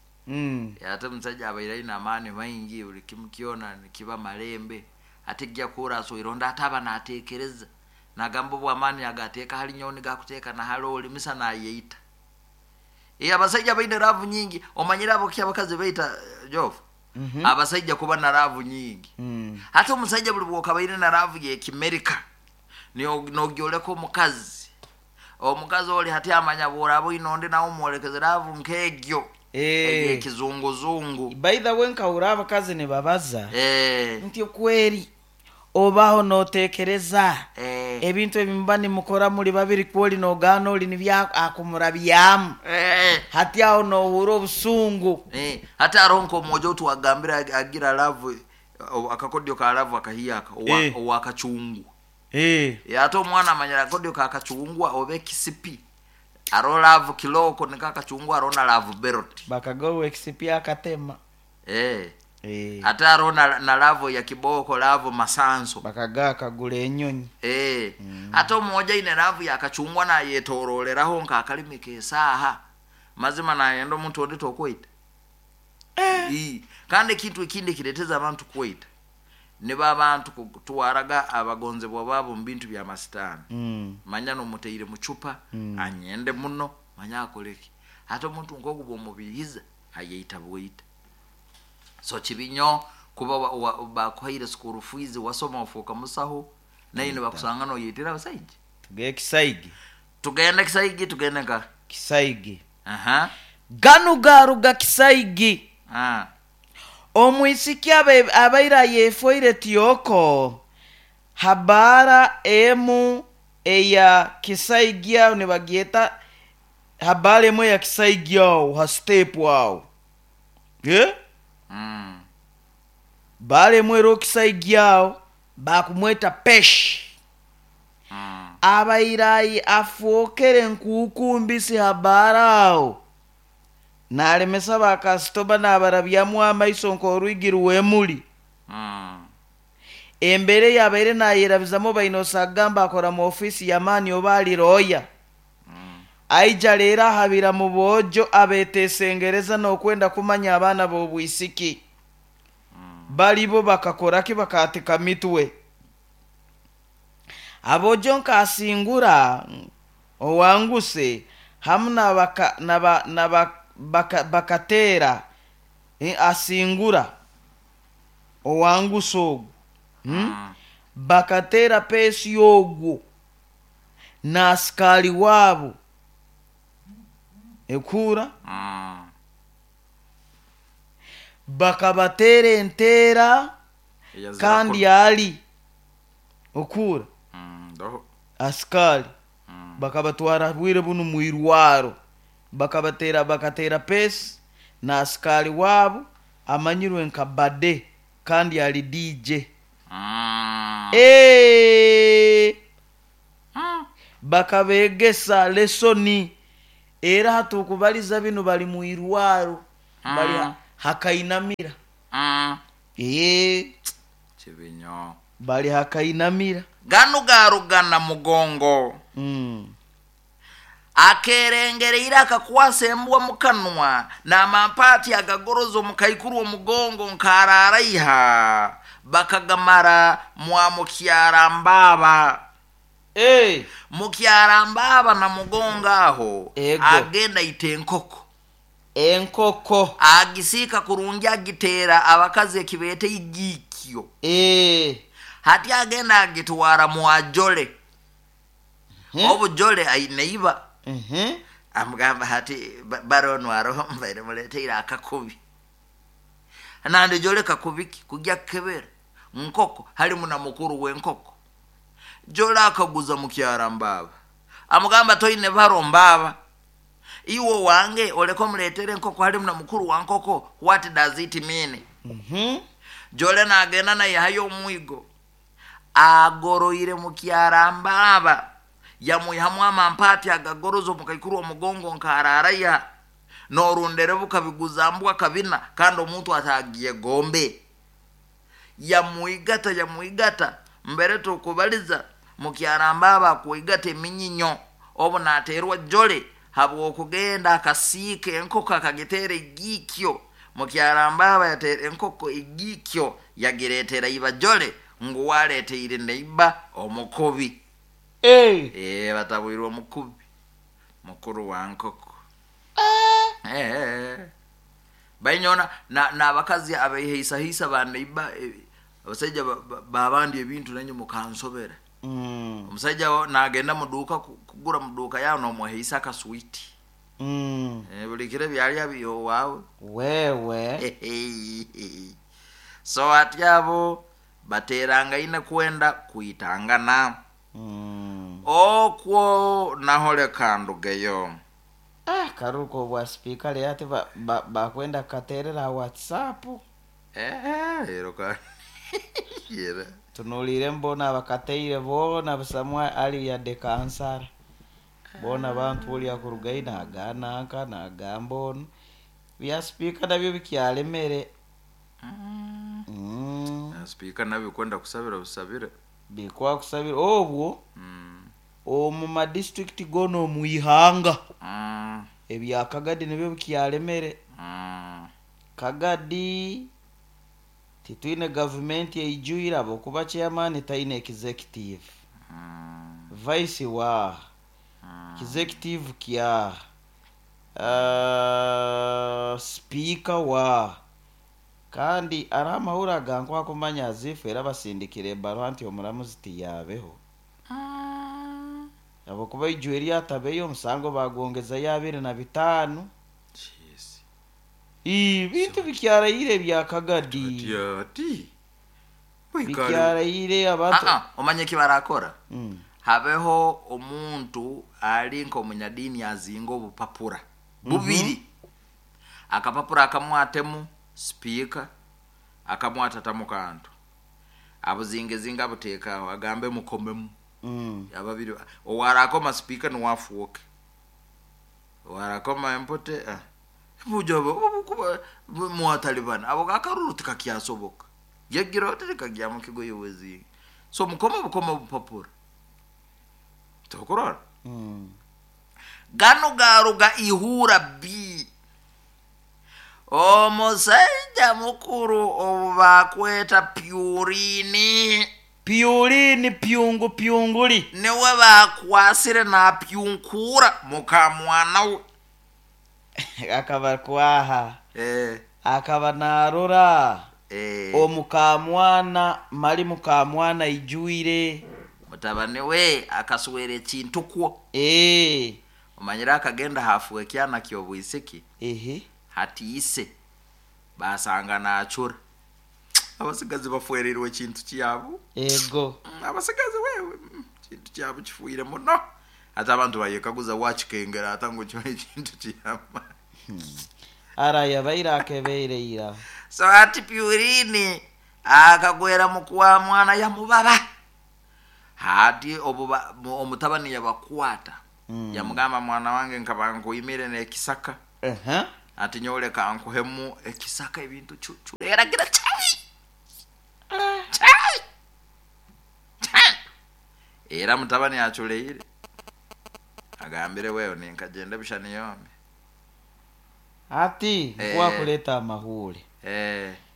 Speaker 1: Ate omusaija abaire aine amaani maingi buli kimu kyona nikiba malembe, ate gya kuhura asweire ondi ate aba naateekereza nagamba obu amaani agateeka hali nyowe nigakuteeka na hali oli misa nayeita. Abasaija baine laavu nyingi, omanyire abo ki abakazi baita Jofu? Abasaija kuba na laavu nyingi. Hati omusaija buli bwokabaire na laavu y'ekimerika nogyoleka omukazi. Omukazi oli hati amanya bworaba oine ondi nawe omwolekeze laavu nk'egyo. Ey'ekizunguzungu.
Speaker 2: By the way, nkahura abakazi nibabaza nti kweri obaho noteekereza ebintu ebimuba nimukora muri babiri kwoli nogaana oli nibyo akumurabyamu. Hati aho nohura obusungu.
Speaker 1: Hati hariho nk'omwojo twagambire agira laavu akakodyo ka laavu akahiyaka owakacungwa. Ate omwana amanyira akakodyo ka kacungwa oba ekisipi. Aro laavu kiloko nika akacungwa hariho na laavu berot.
Speaker 2: Bakagawa ekisipi akatema.
Speaker 1: Ate hariho na laavu ya kiboko, laavu masanso.
Speaker 2: Bakagaa akagura enyonyi.
Speaker 1: Ate omwojo aine laavu yakacungwa nayetororeraho nk'akalimi k'esaaha. Mazima nayenda omuntu ondi tokweita. Kandi ekintu ekindi ekireeteza abantu kweita nibo abantu kutwaraga abagonzebwa baabo mu bintu bya masitaani. Manya nomuteire mucupa, anyende muno, manya akoreki. Ate omuntu nk'ogu bw'omubiihiza ayeita bwita. So kibi nnyo kuba bakuhaire school fees wasoma ofuuka musaho naye nibakusanga noyetera abasaija.
Speaker 2: Tugende Kisaigi.
Speaker 1: Tugende Kisaigi, tugende nka
Speaker 2: Kisaigi. Ganu garuga Kisaigi. Omwisiki abaire ayefoire tiyoko habara emu eya Kisaigi aho nibagyeta habara emu eya Kisaigi aho ha step aho. Bara emu ero Kisaigi aho bakumweta Pesh. Abaire afookere nkukumbisi habara aho. Nalemesa bakasitoma nabarabyamu amaiso nk'orwigi rw'emuli. Embere yabaire nayerabizamu baine osagamba akora mu ofiisi y'amaani oba ali looya. Aija leero ahabira mu boojo abeeteesengereza n'okwenda kumanya abaana b'obwisiki. Balibo bakakoraki bakaatika mitwe. Aboojo nkasingura owanguse hamu bakateera asingura owanguse ogwo. Bakateera peesi ogwo n'asikaali waabo ekuura. Bakabateera enteera kandi ali okuura asikaali bakabatwara bwire bunu mwirwaro. Bakabateera bakateera peesi n'asikaali waabo amanyirwe nka Bade kandi ali DJ. Bakabegesa lesoni Era hatukubaliza binu bali mu irwaro, bali hakainamira.
Speaker 1: Kibinyo.
Speaker 2: Bali hakainamira.
Speaker 1: Ganu garugana mugongo. Akerengereire akakwasa embwa mukanwa n'amampaati agagoroza omukaikuru omugongo nkararaiha bakagamara mwa mukyara mbaaba. Mukyara mbaaba na mugongo aho.
Speaker 2: Ego.
Speaker 1: Agenda ita enkoko.
Speaker 2: Enkoko.
Speaker 1: Agisiika kurungi agiteera abakazi ekibeeta igiikyo. Hati agenda agitwara mwajole. Obujole aine iba. Amugamba hati barono aroho mbaire muleteire akakubi. Nandi jole kakubiki kujya kukebera nkoko halimu na mukuru w'enkoko. Jole akaguza mukyara mbaba. Amugamba toine baro mbaba. Iwo wange oleko muletere enkoko halimu na mukuru wa nkoko, what does it mean? Jole nagenda nayihayo omwigo. Agoroire mukyara mbaba. Yamuihamu amampaati agagoroza omukaikuru omugongo nkararaya. Norundere bukabiguza mbwa kabina kandi omuntu atagiye gombe. Yamuigata yamuigata mbere tukubaliza mukyara mbaba kuigata eminyinyo obu naterwa jole habwokugenda akasiika enkoko akagiteera egiikyo. Mukyara mbaba yateera enkoko egiikyo yagireetera iba jole ngu waleeteire neiba omukubi. Batabwirwe omukubi mukuru wa nkoko. Bainyona n'abakazi abaihaisahisa baneiba abasaija babandi ebintu nanyo mukansobera. Omusaija nagenda muduuka kugura muduuka yawe nomwehaisa akaswiti. Buli kiro byalya byowawe.
Speaker 2: Wewe.
Speaker 1: So ati abo baterangaine kwenda kuitangana. Okwo nahole kandugeyo.
Speaker 2: Karuko bwa speaker le ati bakwenda katerera WhatsApp.
Speaker 1: Ero ka. Yera.
Speaker 2: Tunulire mbona bakateire bona busamwa ali ya dekansara. Bona bantu oli akurugaina agana nka na gambo. Bya speaker nabyo bikyalemere.
Speaker 1: Speaker nabyo kwenda kusabira busabira.
Speaker 2: Bikwa kusabira obwo. Omu ma district gono muihanga. Ebya Kagadi nibyo bikyalemere. Kagadi titwine government eijuira abokuba chairman taine executive. Vice wa executive kya speaker wa kandi aramahura gankwa kumanya azifu era basindikire barwa nti omuramuzi tiyabeho. Abokuba ijueri atabeyo omusango bagongeza ya 25.
Speaker 1: Jeez.
Speaker 2: Ibintu bikyarayire bya Kagadi.
Speaker 1: Ati.
Speaker 2: Bikyarayire abantu.
Speaker 1: Omanye kibarakora. Habeho omuntu ali nkomunyadini azinga obupapura. Bubiri. Akapapura akamwatemu speaker akamwatatamu kantu. Abuzingezinga butekaho agambe mukomemu. Ababiri owarakoma speaker ni wafuoke. Owarakoma empote bujobo obukuba mwatalibana abo gakaruru tikakyasoboka. Yegira otirika mu kigo yowezi. So mukoma bukoma bupapura. Tokorora. Gano garuga ihura bi. Omusaija mukuru obubakweta Pyurini.
Speaker 2: Pyurini pyungu pyunguli.
Speaker 1: Niwe bakwasire na pyunkura mukamwana we.
Speaker 2: Akaba kwaha. Akaba narora. Omukamwana mali mukamwana ijuire.
Speaker 1: Mutabani we akaswere ekintu kwo. Omanyira akagenda hafuwe kyana kyobwisiki. Hati ise basanga nachura. Abasigazi bafuerirwe ekintu kyabo.
Speaker 2: Ego.
Speaker 1: Abasigazi wewe kintu kyabo kifuire muno. Ate abantu bayekaguza wakikengera atangu kyo ekintu kyama.
Speaker 2: Araya baira akebeire ira.
Speaker 1: So ati Pyurini akagwera mukwa mwana ya mubaba. Hati omutabani yabakwata. Yamugamba, mwana wange, nkaba nkuimire n'ekisaka, ati nyoleka nkuhemu ekisaka ebintu cucureragira chai chai chai. Era mutabani aculeire, agambire, wewe ninkagenda bishani yombi.
Speaker 2: Ati nkwakuleeta amahuule.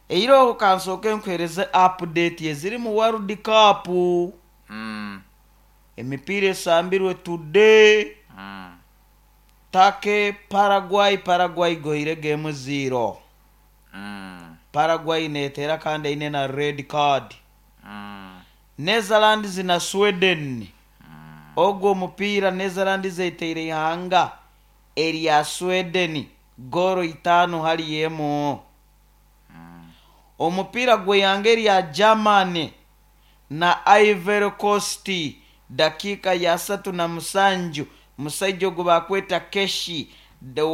Speaker 2: Eiro kansooke nkuhereze update eziri mu World Cup. Emipiira esambirwe today: Turkey, Paraguay. Paraguay goire game 0. Paraguay neteera kandi eine na red card. Netherlands na Sweden, ogwo omupiira Netherlands eteire ihanga erya Sweden goro 5-1. Omupiira gw'eihanga erya Germany na Ivory Coast, dakiika ya 37, musaija ogu bakweta Keshi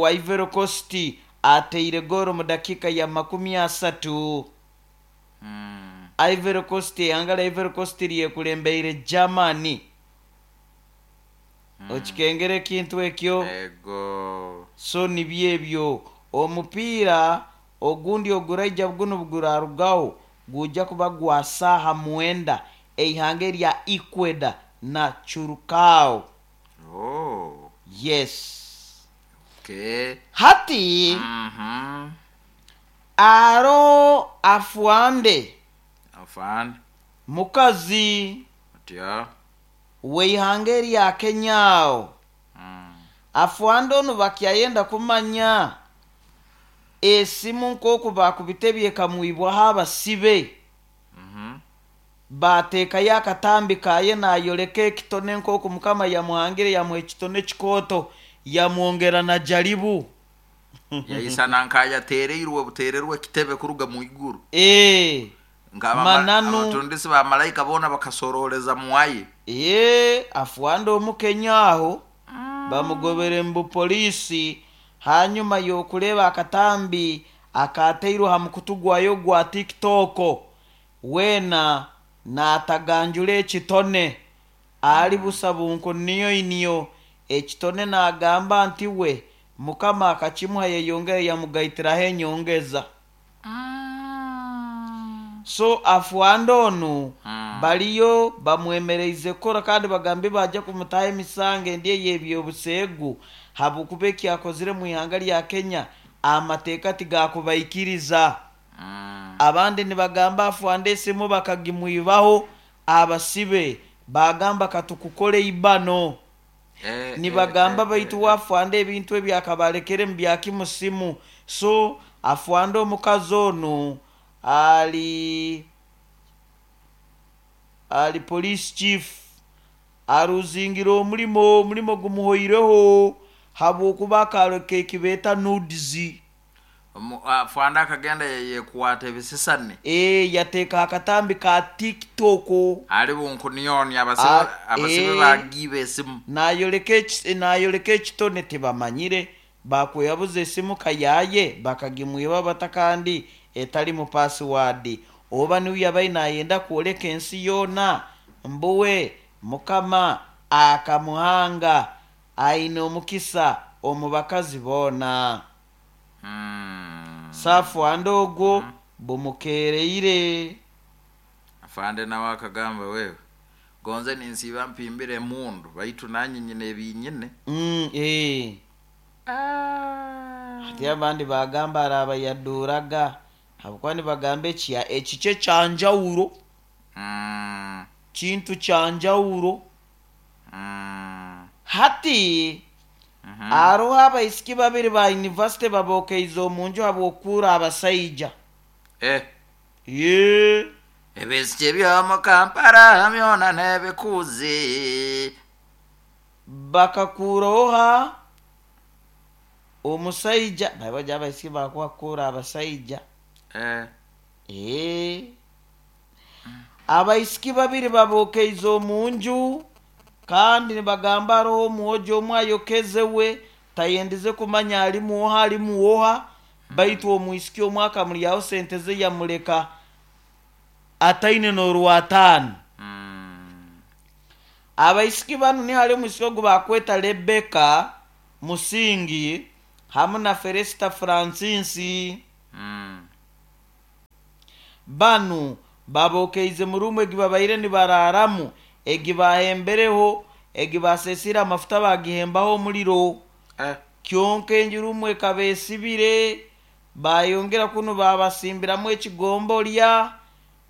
Speaker 2: wa Ivory Coast ateire goro mu dakiika ya 30. Ivory Coast, ihanga lya Ivory Coast lyekulembeire Germany. Okikengera ekintu ekyo?
Speaker 1: Ego.
Speaker 2: So nibyo ebyo. Omupiira ogundi oguraija guno gurarugaho gujja kuba gwa saaha 9, eihanga erya Ecuador na Curacao.
Speaker 1: Oh.
Speaker 2: Yes.
Speaker 1: Okay.
Speaker 2: Hati aro afuande
Speaker 1: Afande.
Speaker 2: Mukazi
Speaker 1: Otya.
Speaker 2: weihanga erya Kenyaawo. Afuande onu bakyayenda kumanya esimu nk'oku bakubitebye ekamwibwaho abasibe, bateekayo akatambi kaye nayoleka ekitone nk'oku Mukama yamuhangire, yamuha ekitone kikooto, yamwongera na jaribu.
Speaker 1: Yaisana nkayatereirwe butererwe ekitebe kuruga mu iguru.
Speaker 2: Mananu.
Speaker 1: Abatundisi ba malayika boona bakasororeza muwaye.
Speaker 2: Afuande omukenya aho bamugobere mu bupoliisi hanyuma y'okureeba akatambi akateirwe ha mukutu gwayo gwa TikTok, weena naataganjura ekitone ali busa bunku niyo niyo ekitone, naagamba nti we Mukama akakimuha, yeyongere yamugaitiraho enyongeza. So afuande onu baliyo bamwemereize kukora kandi bagambe bajja kumutaho emisango endi ey'ebyobuseegu, habwokuba ekyakozire mu ihanga lya Kenya amateeka tigakubaikiriza. Abandi nibagamba afuande esimu bakagimwibaho abasibe, bagamba katukukole ibano. Nibagamba baitu wafuande ebintu ebyakabalekere mu byakimusimu. So afuande omukazi onu ali police chief, aruzingira omulimo, omulimo gumuhoireho habwokuba akaleka ekibeeta nudes.
Speaker 1: Afande akagenda yekwata ebisisani.
Speaker 2: Yateeka akatambi ka TikTok.
Speaker 1: Ali bunkuniyoni abasibe. Abasibe bagiba esimu.
Speaker 2: Nayoleka ekitone, tibamanyire bakweyabuza esimu kayaye bakagimwiba bata kandi etali mu password, oba niwe yabai nayenda kwoleka ensi yoona mbuwe Mukama akamuhanga aine omukisa omu bakazi boona. Saafuande ogwo bumukereire.
Speaker 1: Afande nawe akagamba, wewe gonze ninsiba mpimbire emundu, baitu nanye nyine ebinyine.
Speaker 2: Ati abandi bagamba araba yaduraga, habwokuba nibagamba ekya ekikye kyanjawulo, kintu kyanjawulo. Hati aroho abaisiki babiri ba university babokeize omunju habwokuura abasaija. Ye.
Speaker 1: Ebisiki byomu Kampala byona nebikuzi.
Speaker 2: Bakakuuraho ha omusaija babaja abaisiki bakubakuura abasaija. Abaisiki babiri babokeize omunju kandi nibagamba aroho omwojo omwe ayokeze, we tayendize kumanya ali muoha ali muoha, baitu omwisiki omwe akamuryaho sente ze yamuleka ataine n'orwataano. Abaisiki banu ni hali omwisiki ogu bakweta Rebecca Musingi hamu na Felista Francis. Banu babokeize mu ruumu egi babaire nibararamu, egi bahembereho, egi basesiire amafuta bagihembaho omuliro. Kyonka enju ruumu ekaba esibire, bayongera kunu babasimbiramu ekigombolya,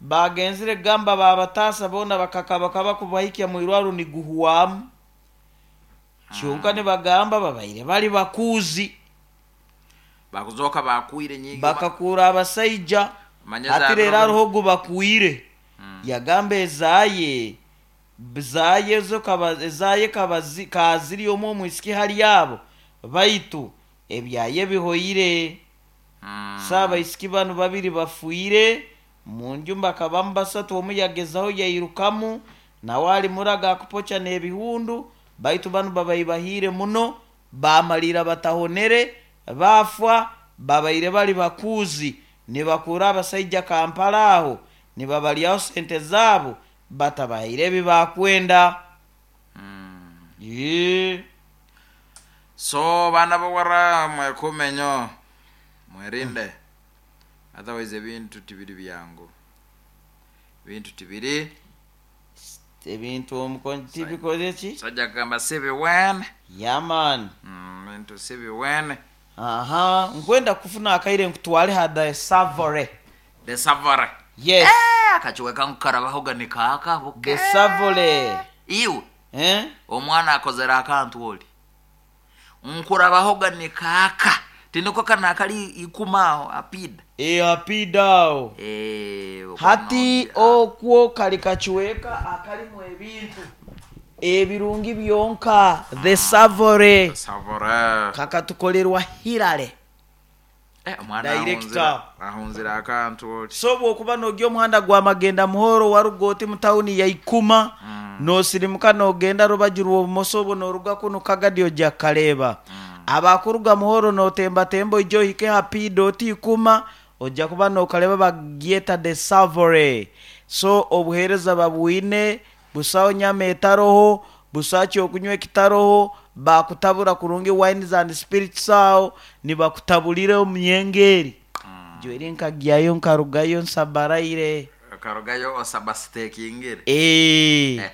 Speaker 2: bagenzire kugamba babataasa boona bakakabakaba kubahikya mwirwaro niguhwamu. Kyonka nibagamba babaire bali bakuuzi.
Speaker 1: Bakuzooka bakuire nyingi.
Speaker 2: Bakakuura abasaija.
Speaker 1: Manya
Speaker 2: Hati
Speaker 1: za
Speaker 2: reero
Speaker 1: biro
Speaker 2: hariho ogu bakuire. Yagamba ezaye zaye ezo kaba ezaye kaba zi ka ziri omu omwisiki hali abo baitu ebyaye bihoire. So abaisiki banu babiri bafwire munju bakabamu basatu omu yagezaho yairukamu nawe ali murago akupokya n'ebihundu baitu banu babaibahiire muno baamaliira batahonere baafwa babaire bali bakuuzi nibakuura abasaija Kampala aho nibabalyaho sente zaabo batabahaire ebi baakwenda. Eeh.
Speaker 1: So baana bawara mwekuume nyo, mwerinde otherwise ebintu tibiri byangu. Ebintu tibiri.
Speaker 2: Ebintu omukono tibikoze ki?
Speaker 1: Omusajja akagamba sibiwene.
Speaker 2: Yeah man.
Speaker 1: Ebintu sibiwene.
Speaker 2: Aha, nkwenda kufuna akaire nkutwale ha The Savory.
Speaker 1: The Savory.
Speaker 2: Yes.
Speaker 1: Eh, akakiweka nkukarabahoga nikaaka buke.
Speaker 2: The Savory.
Speaker 1: Iwe.
Speaker 2: Eh?
Speaker 1: Omwana akozere akantu oli. Nkurabahoga nikaaka. Tiniko kana akali ikuma aho apida.
Speaker 2: E apida aho.
Speaker 1: Eh,
Speaker 2: Hati okwo kali kakiweka akalimu ebintu ebirungi byonka. The Savory.
Speaker 1: The Savory.
Speaker 2: Kakatukolerwa Hillary.
Speaker 1: Eh, omwana
Speaker 2: Director.
Speaker 1: ahunzire akantu oti.
Speaker 2: So bwokuba nogya omuhanda gwa Magenda Muhoro waruga oti mu tawuni ya Ikuma nosirimuka nogenda rubaju rw'obumoso obwo noruga kunu Kagadi oja kukareeba. Abakuruga Muhoro notembatemba oije ohike ha piida oti Ikuma oja kuba nokareeba bagyeta The Savory. So obuheereza babwine, busaho nyama etaroho, busaho kyokunywa ekitaroho, bakutabura kurungi wines and spirits aho nibakutaburira omu myenge eri. Jweri nkagyayo nkarugayo nsabaraire.
Speaker 1: Okarugayo osabasitekingire.
Speaker 2: Eeh.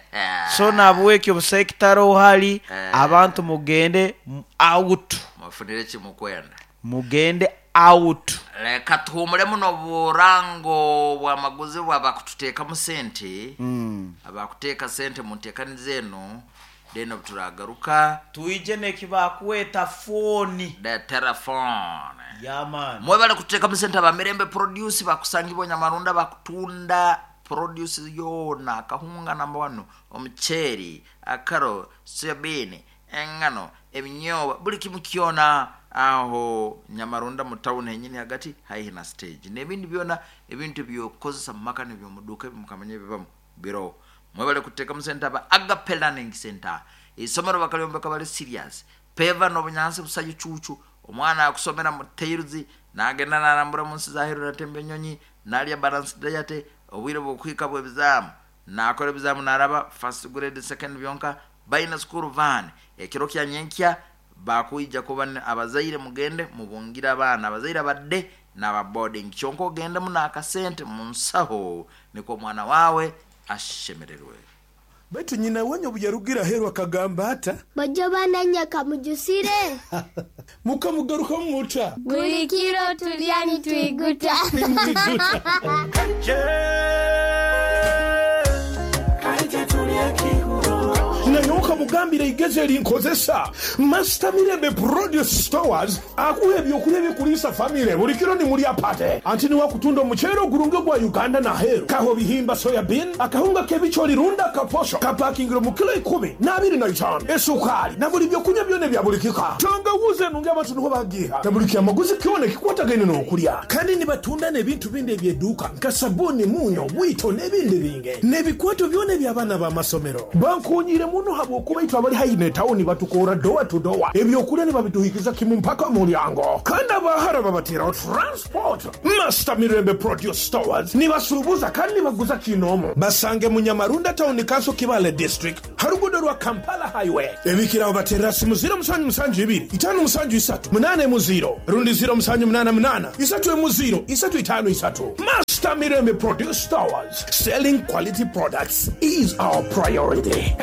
Speaker 2: So nahabwekyo busaho ekitaroho hali, abantu mugende out.
Speaker 1: Mufunire ki mukwenda.
Speaker 2: Mugende out.
Speaker 1: Leka tuhumuremu n'oburango bw'amaguzi bw'abakututeekamu sente, abakuteeka sente mu nteekaniza enu, then obu turagaruka.
Speaker 2: Twije n'ekibakweta fooni.
Speaker 1: The telephone.
Speaker 2: Yeah man.
Speaker 1: Mwebale kututeekamu sente aba Mirembe Produce bakusangibwa Nyamarunda bakutunda produce yoona, akahunga namba wanu, omuceeri, akaro, soya bean, engano, ebinyobwa, buli kimu kyona aho Nyamarunda mu town henyini hagati haihi na stage. N'ebindi byona ebintu eby'okukozesa mu maka n'eby'omuduuka ebimukamanya ebibamu biroho. Mwebale kututeekamu sente aba Agape Learning Center. Eisomero bakalyombeka bali serious. Peva n'obunyansi busa icuucu. Omwana akusomera mu tails, nagenda narambura mu nsi z'aheeru natemba enyonyi, nalya balanced diet, obwire bw'okuhika bw'ebizaamu, nakora ebizaamu naraba first grade, second byonka, baine school van. Ekiro kya nyenkya bakwija kuba abazaire mugende mubungire abaana, abazaire aba day n'aba boarding. Kyonka ogendemu n'akasente mu nsaho nikwo omwana waawe ashemererwe.
Speaker 3: Baitu nyina wanyu obu yarugire aheeru akagamba ata?
Speaker 4: Bojo bananya kamujusire.
Speaker 3: Mukamugarukamu muta?
Speaker 4: Buli kiro tulya nitwiguta.
Speaker 3: Nimwiguta. Naye okamugambira eigezi erinkozesa Master Mirembe Produce Stores akuha ebyokulya ebikuliisa famire buli kiro nimulya pate. Anti niwe akutunda omuceere ogurungi ogwa Uganda n'aheeru, kaho bihimba soya bean, akahunga k'ebicoori rundi akaposho kapakingire omu kilo ikumi n'abiri na itaano, esukaali na buli byokunywa byona ebya buli kika. Tangawuzi enungi abantu niho bagiiha na buli kyamaguzi kyona ekikwatagaine n'okulya. Kandi nibatunda n'ebintu bindi eby'eduuka nka sabuuni, munyo, bwito n'ebindi bingi n'ebikwato byona eby'abaana b'amasomero. Bankoonyiire muno habw'okuba. Abakuuku baitu abali haihi n'etawuni batukoora dowa tu dowa, ebyokulya nibabituhikiza kimu mpaka mulyango. Kandi abahara babateraho transport. Master Mirembe Produce Stores nibasuubuza kandi nibaguza kinoomu. Basange mu Nyamarunda Town Council Kibaale District ha luguudo rwa Kampala Highway. Ebikiraho baterera simu 0772 573 80 rundi 0788 30 353. Master Mirembe Produce Stores, selling quality products is our priority.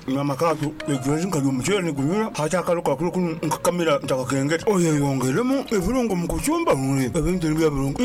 Speaker 5: Nyama kato egwezi nkalya omuceere nigunyura hati akalo kakulu kunu nkakamira ntakakengeta oyeyongeremu ebirungo mu kucumba ebintu nibyo birungo.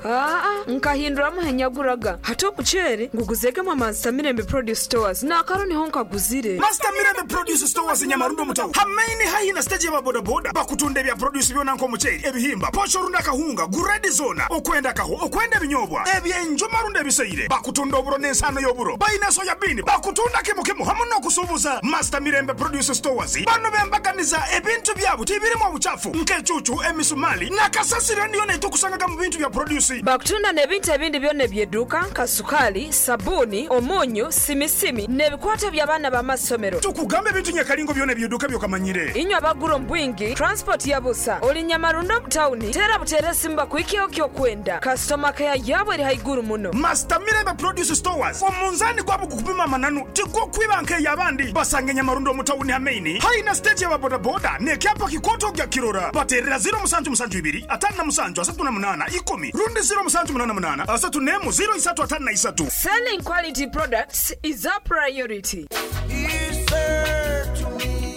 Speaker 6: Aa, nkahinduramu henyaguraga hati omuceere nguguzegemu Master Mirembe Produce Stores n'akaro niho nkaguzire.
Speaker 7: Master Mirembe Produce Stores Nyamarundo mutawu hamaini haihi na stage ya bodaboda bakutunda ebya produce byona nk'omuceere ebihimba posho runda akahunga guredi zona okwenda kaho okwenda ebinyobwa ebyenjuma runda ebiseire bakutunda oburo n'ensano y'oburo bayina soya bean bakutunda kimu kimu hamu n'okusuubuza. Master Mirembe Produce Stores bano bembaganiza ebintu byabo tibirimu obuchafu nk'ecucu emisumali nakasasiro niyo netukusangaga mu bintu bya produce.
Speaker 6: Bakutunda n'ebintu ebindi byona ebyeduka nka sukali, sabuni, omunyu, simisimi n'ebikwata by'abaana b'amasomero.
Speaker 7: Tukugambe ebintu nyakalingo byona ebyeduka byokamanyire.
Speaker 6: Inywe abagura ombwingi transport ya busa oli Nyamarundo mutawuni tera butere simba kuikio kyokwenda customer care yabo eri haiguru muno.
Speaker 7: Master Mirembe Produce Stores omunzani gwabo gukupima mananu tigwo kwiba nk'eyabandi basange Nyamarundo mutawuni hamaini haina stage ya bodaboda nekyapa kikoto gya kirora baterera 0772 57 38 10 rundi 0788 3 0 353.
Speaker 6: Selling quality products is a priority.
Speaker 8: He said to me,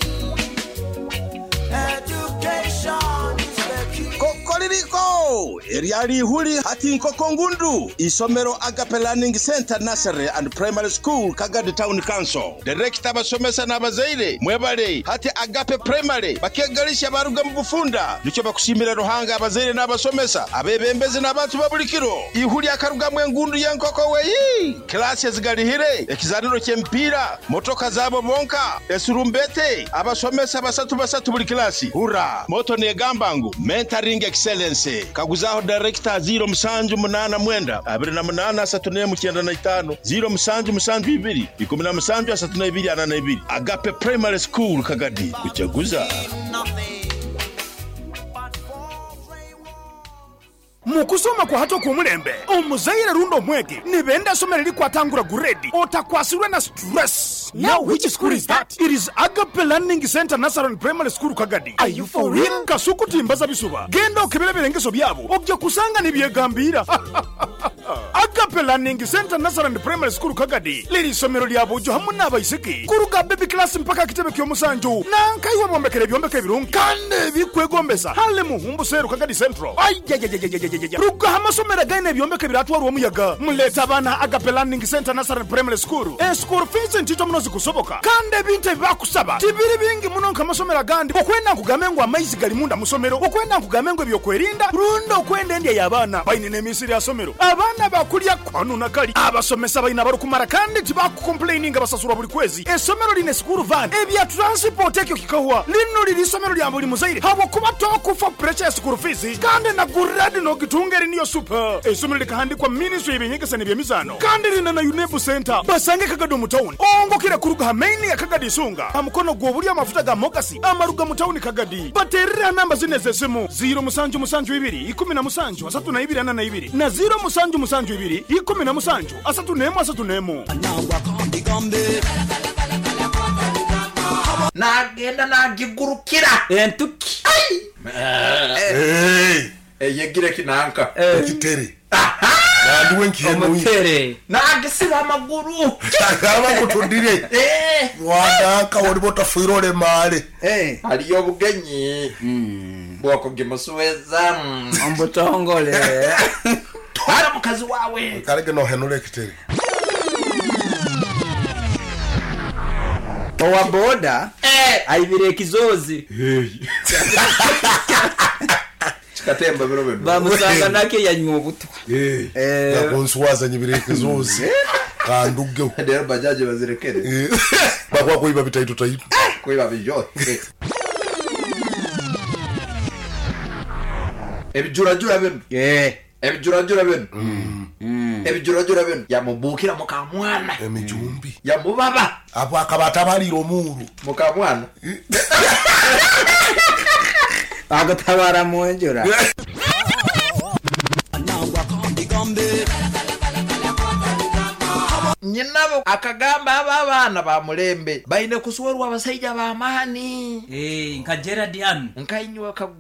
Speaker 8: education is the key.
Speaker 9: Kokoririko eryali ihuli hati nkoko ngundu isomero Agape Learning Center Nursery and Primary School Kagadi Town Council. Director abasomesa n'abazaire mwebale hati Agape Primary bakegalisha baruga mu bufunda nicyo bakushimira Ruhanga abazaire n'abasomesa abebembezi n'abantu babulikiro ihuli akarugamwe engundu y'enkoko weyi klasi ezigalihire ekizaniro ky'empira motoka zabo bonka esurumbete abasomesa basatu basatu buli klasi hura moto negamba ngu mentoring excellence kaguzaho director 0789 28 34 95 0772 17 32 42. Agape Primary School Kagadi kuchaguza.
Speaker 7: Mukusoma kwa hato kumulembe omuzaire rundo mwege nibenda somero likwatangura guredi otakwasirwe na stress. Now which school is that? It is Agape Learning Center Nursery and Primary School Kagadi. Are you for real? Kasuku timbaza bisuba genda okebere birengeso byabo ojja kusanga nibyegambira. Agape Learning Center Nursery and Primary School Kagadi liri somero lya bujo hamwe n'abaisiki kuruga baby class mpaka kitebe ky'omusanju nankaiwe bombekere ebyombeko ebirungi kandi ebikwegombesa hale muhumbu seru Kagadi Central. Ayayayayayayaya ruga amasomero gaine ebyombeko biratwarwa omuyaga muleta abaana Agape Learning Center Nursery and Primary School. School fees ntito muno zikusoboka kandi ebintu ebibakusaba tibiri bingi muno nk'amasomero agandi okwenda nkugambe ngu amaizi gali munda musomero okwenda nkugambe ngu ebyokwerinda rundi okwenda endya y'abaana baine n'emisiri ya somero abaana bakulya kwanu nakali abasomesa baina barukumara kandi tibakukomplaininga basasurwa buli kwezi. Esomero line school van ebya transport ekyo kikahwa lino liri somero lya buli muzaire habwokuba tokufa pressure ya school fees kandi na guradi nogitungeri niyo super. Esomero likahandikwa ministry y'ebyenyegesa n'ebyemizano kandi lina na UNEB center basange Kagadi mu town ongokera kuruga hamaini ya Kagadi Isunga amukono gwobuli amafuta ga mogasi amaruga mu town Kagadi baterera namba zine zesimu 0772 17 32 42 na 0772 17 31 31.
Speaker 1: Nagenda nagigurukira
Speaker 10: entuki
Speaker 1: eyegire kinanka
Speaker 11: ekitere nandiwe
Speaker 10: omutere
Speaker 1: nagisiba amaguru
Speaker 11: abakutundire wandanka oli botafuire olemale
Speaker 1: haliyo obugenyi bwokugimusuweza
Speaker 10: omubutongole
Speaker 1: twala mukazi wawe
Speaker 11: kalege nohenula ekitere.
Speaker 10: Owa boda aibire ekizozi
Speaker 1: Katemba biro bino
Speaker 10: bamusanga nake yanywa obutwa
Speaker 11: yakonsuwaza nyibire ekizozi kanduge
Speaker 1: rero bajaji bazirekere
Speaker 11: bakwa kuiba bitaito taito
Speaker 1: kuiba bijo ebijurajura bino ebijurajura bino Ebijurajura bino yamubukira mukamwana.
Speaker 11: Emijumbi.
Speaker 1: Yamubaba.
Speaker 11: Apo akaba atabalira omuuru.
Speaker 1: Mukamwana.
Speaker 10: Agutabara mu njura.
Speaker 1: Nyinabo akagamba aba abaana ba mulembe baine kuswerwa abasaija b'amaani.
Speaker 10: Nka Gerard hanu.
Speaker 1: Nkainywa kagu.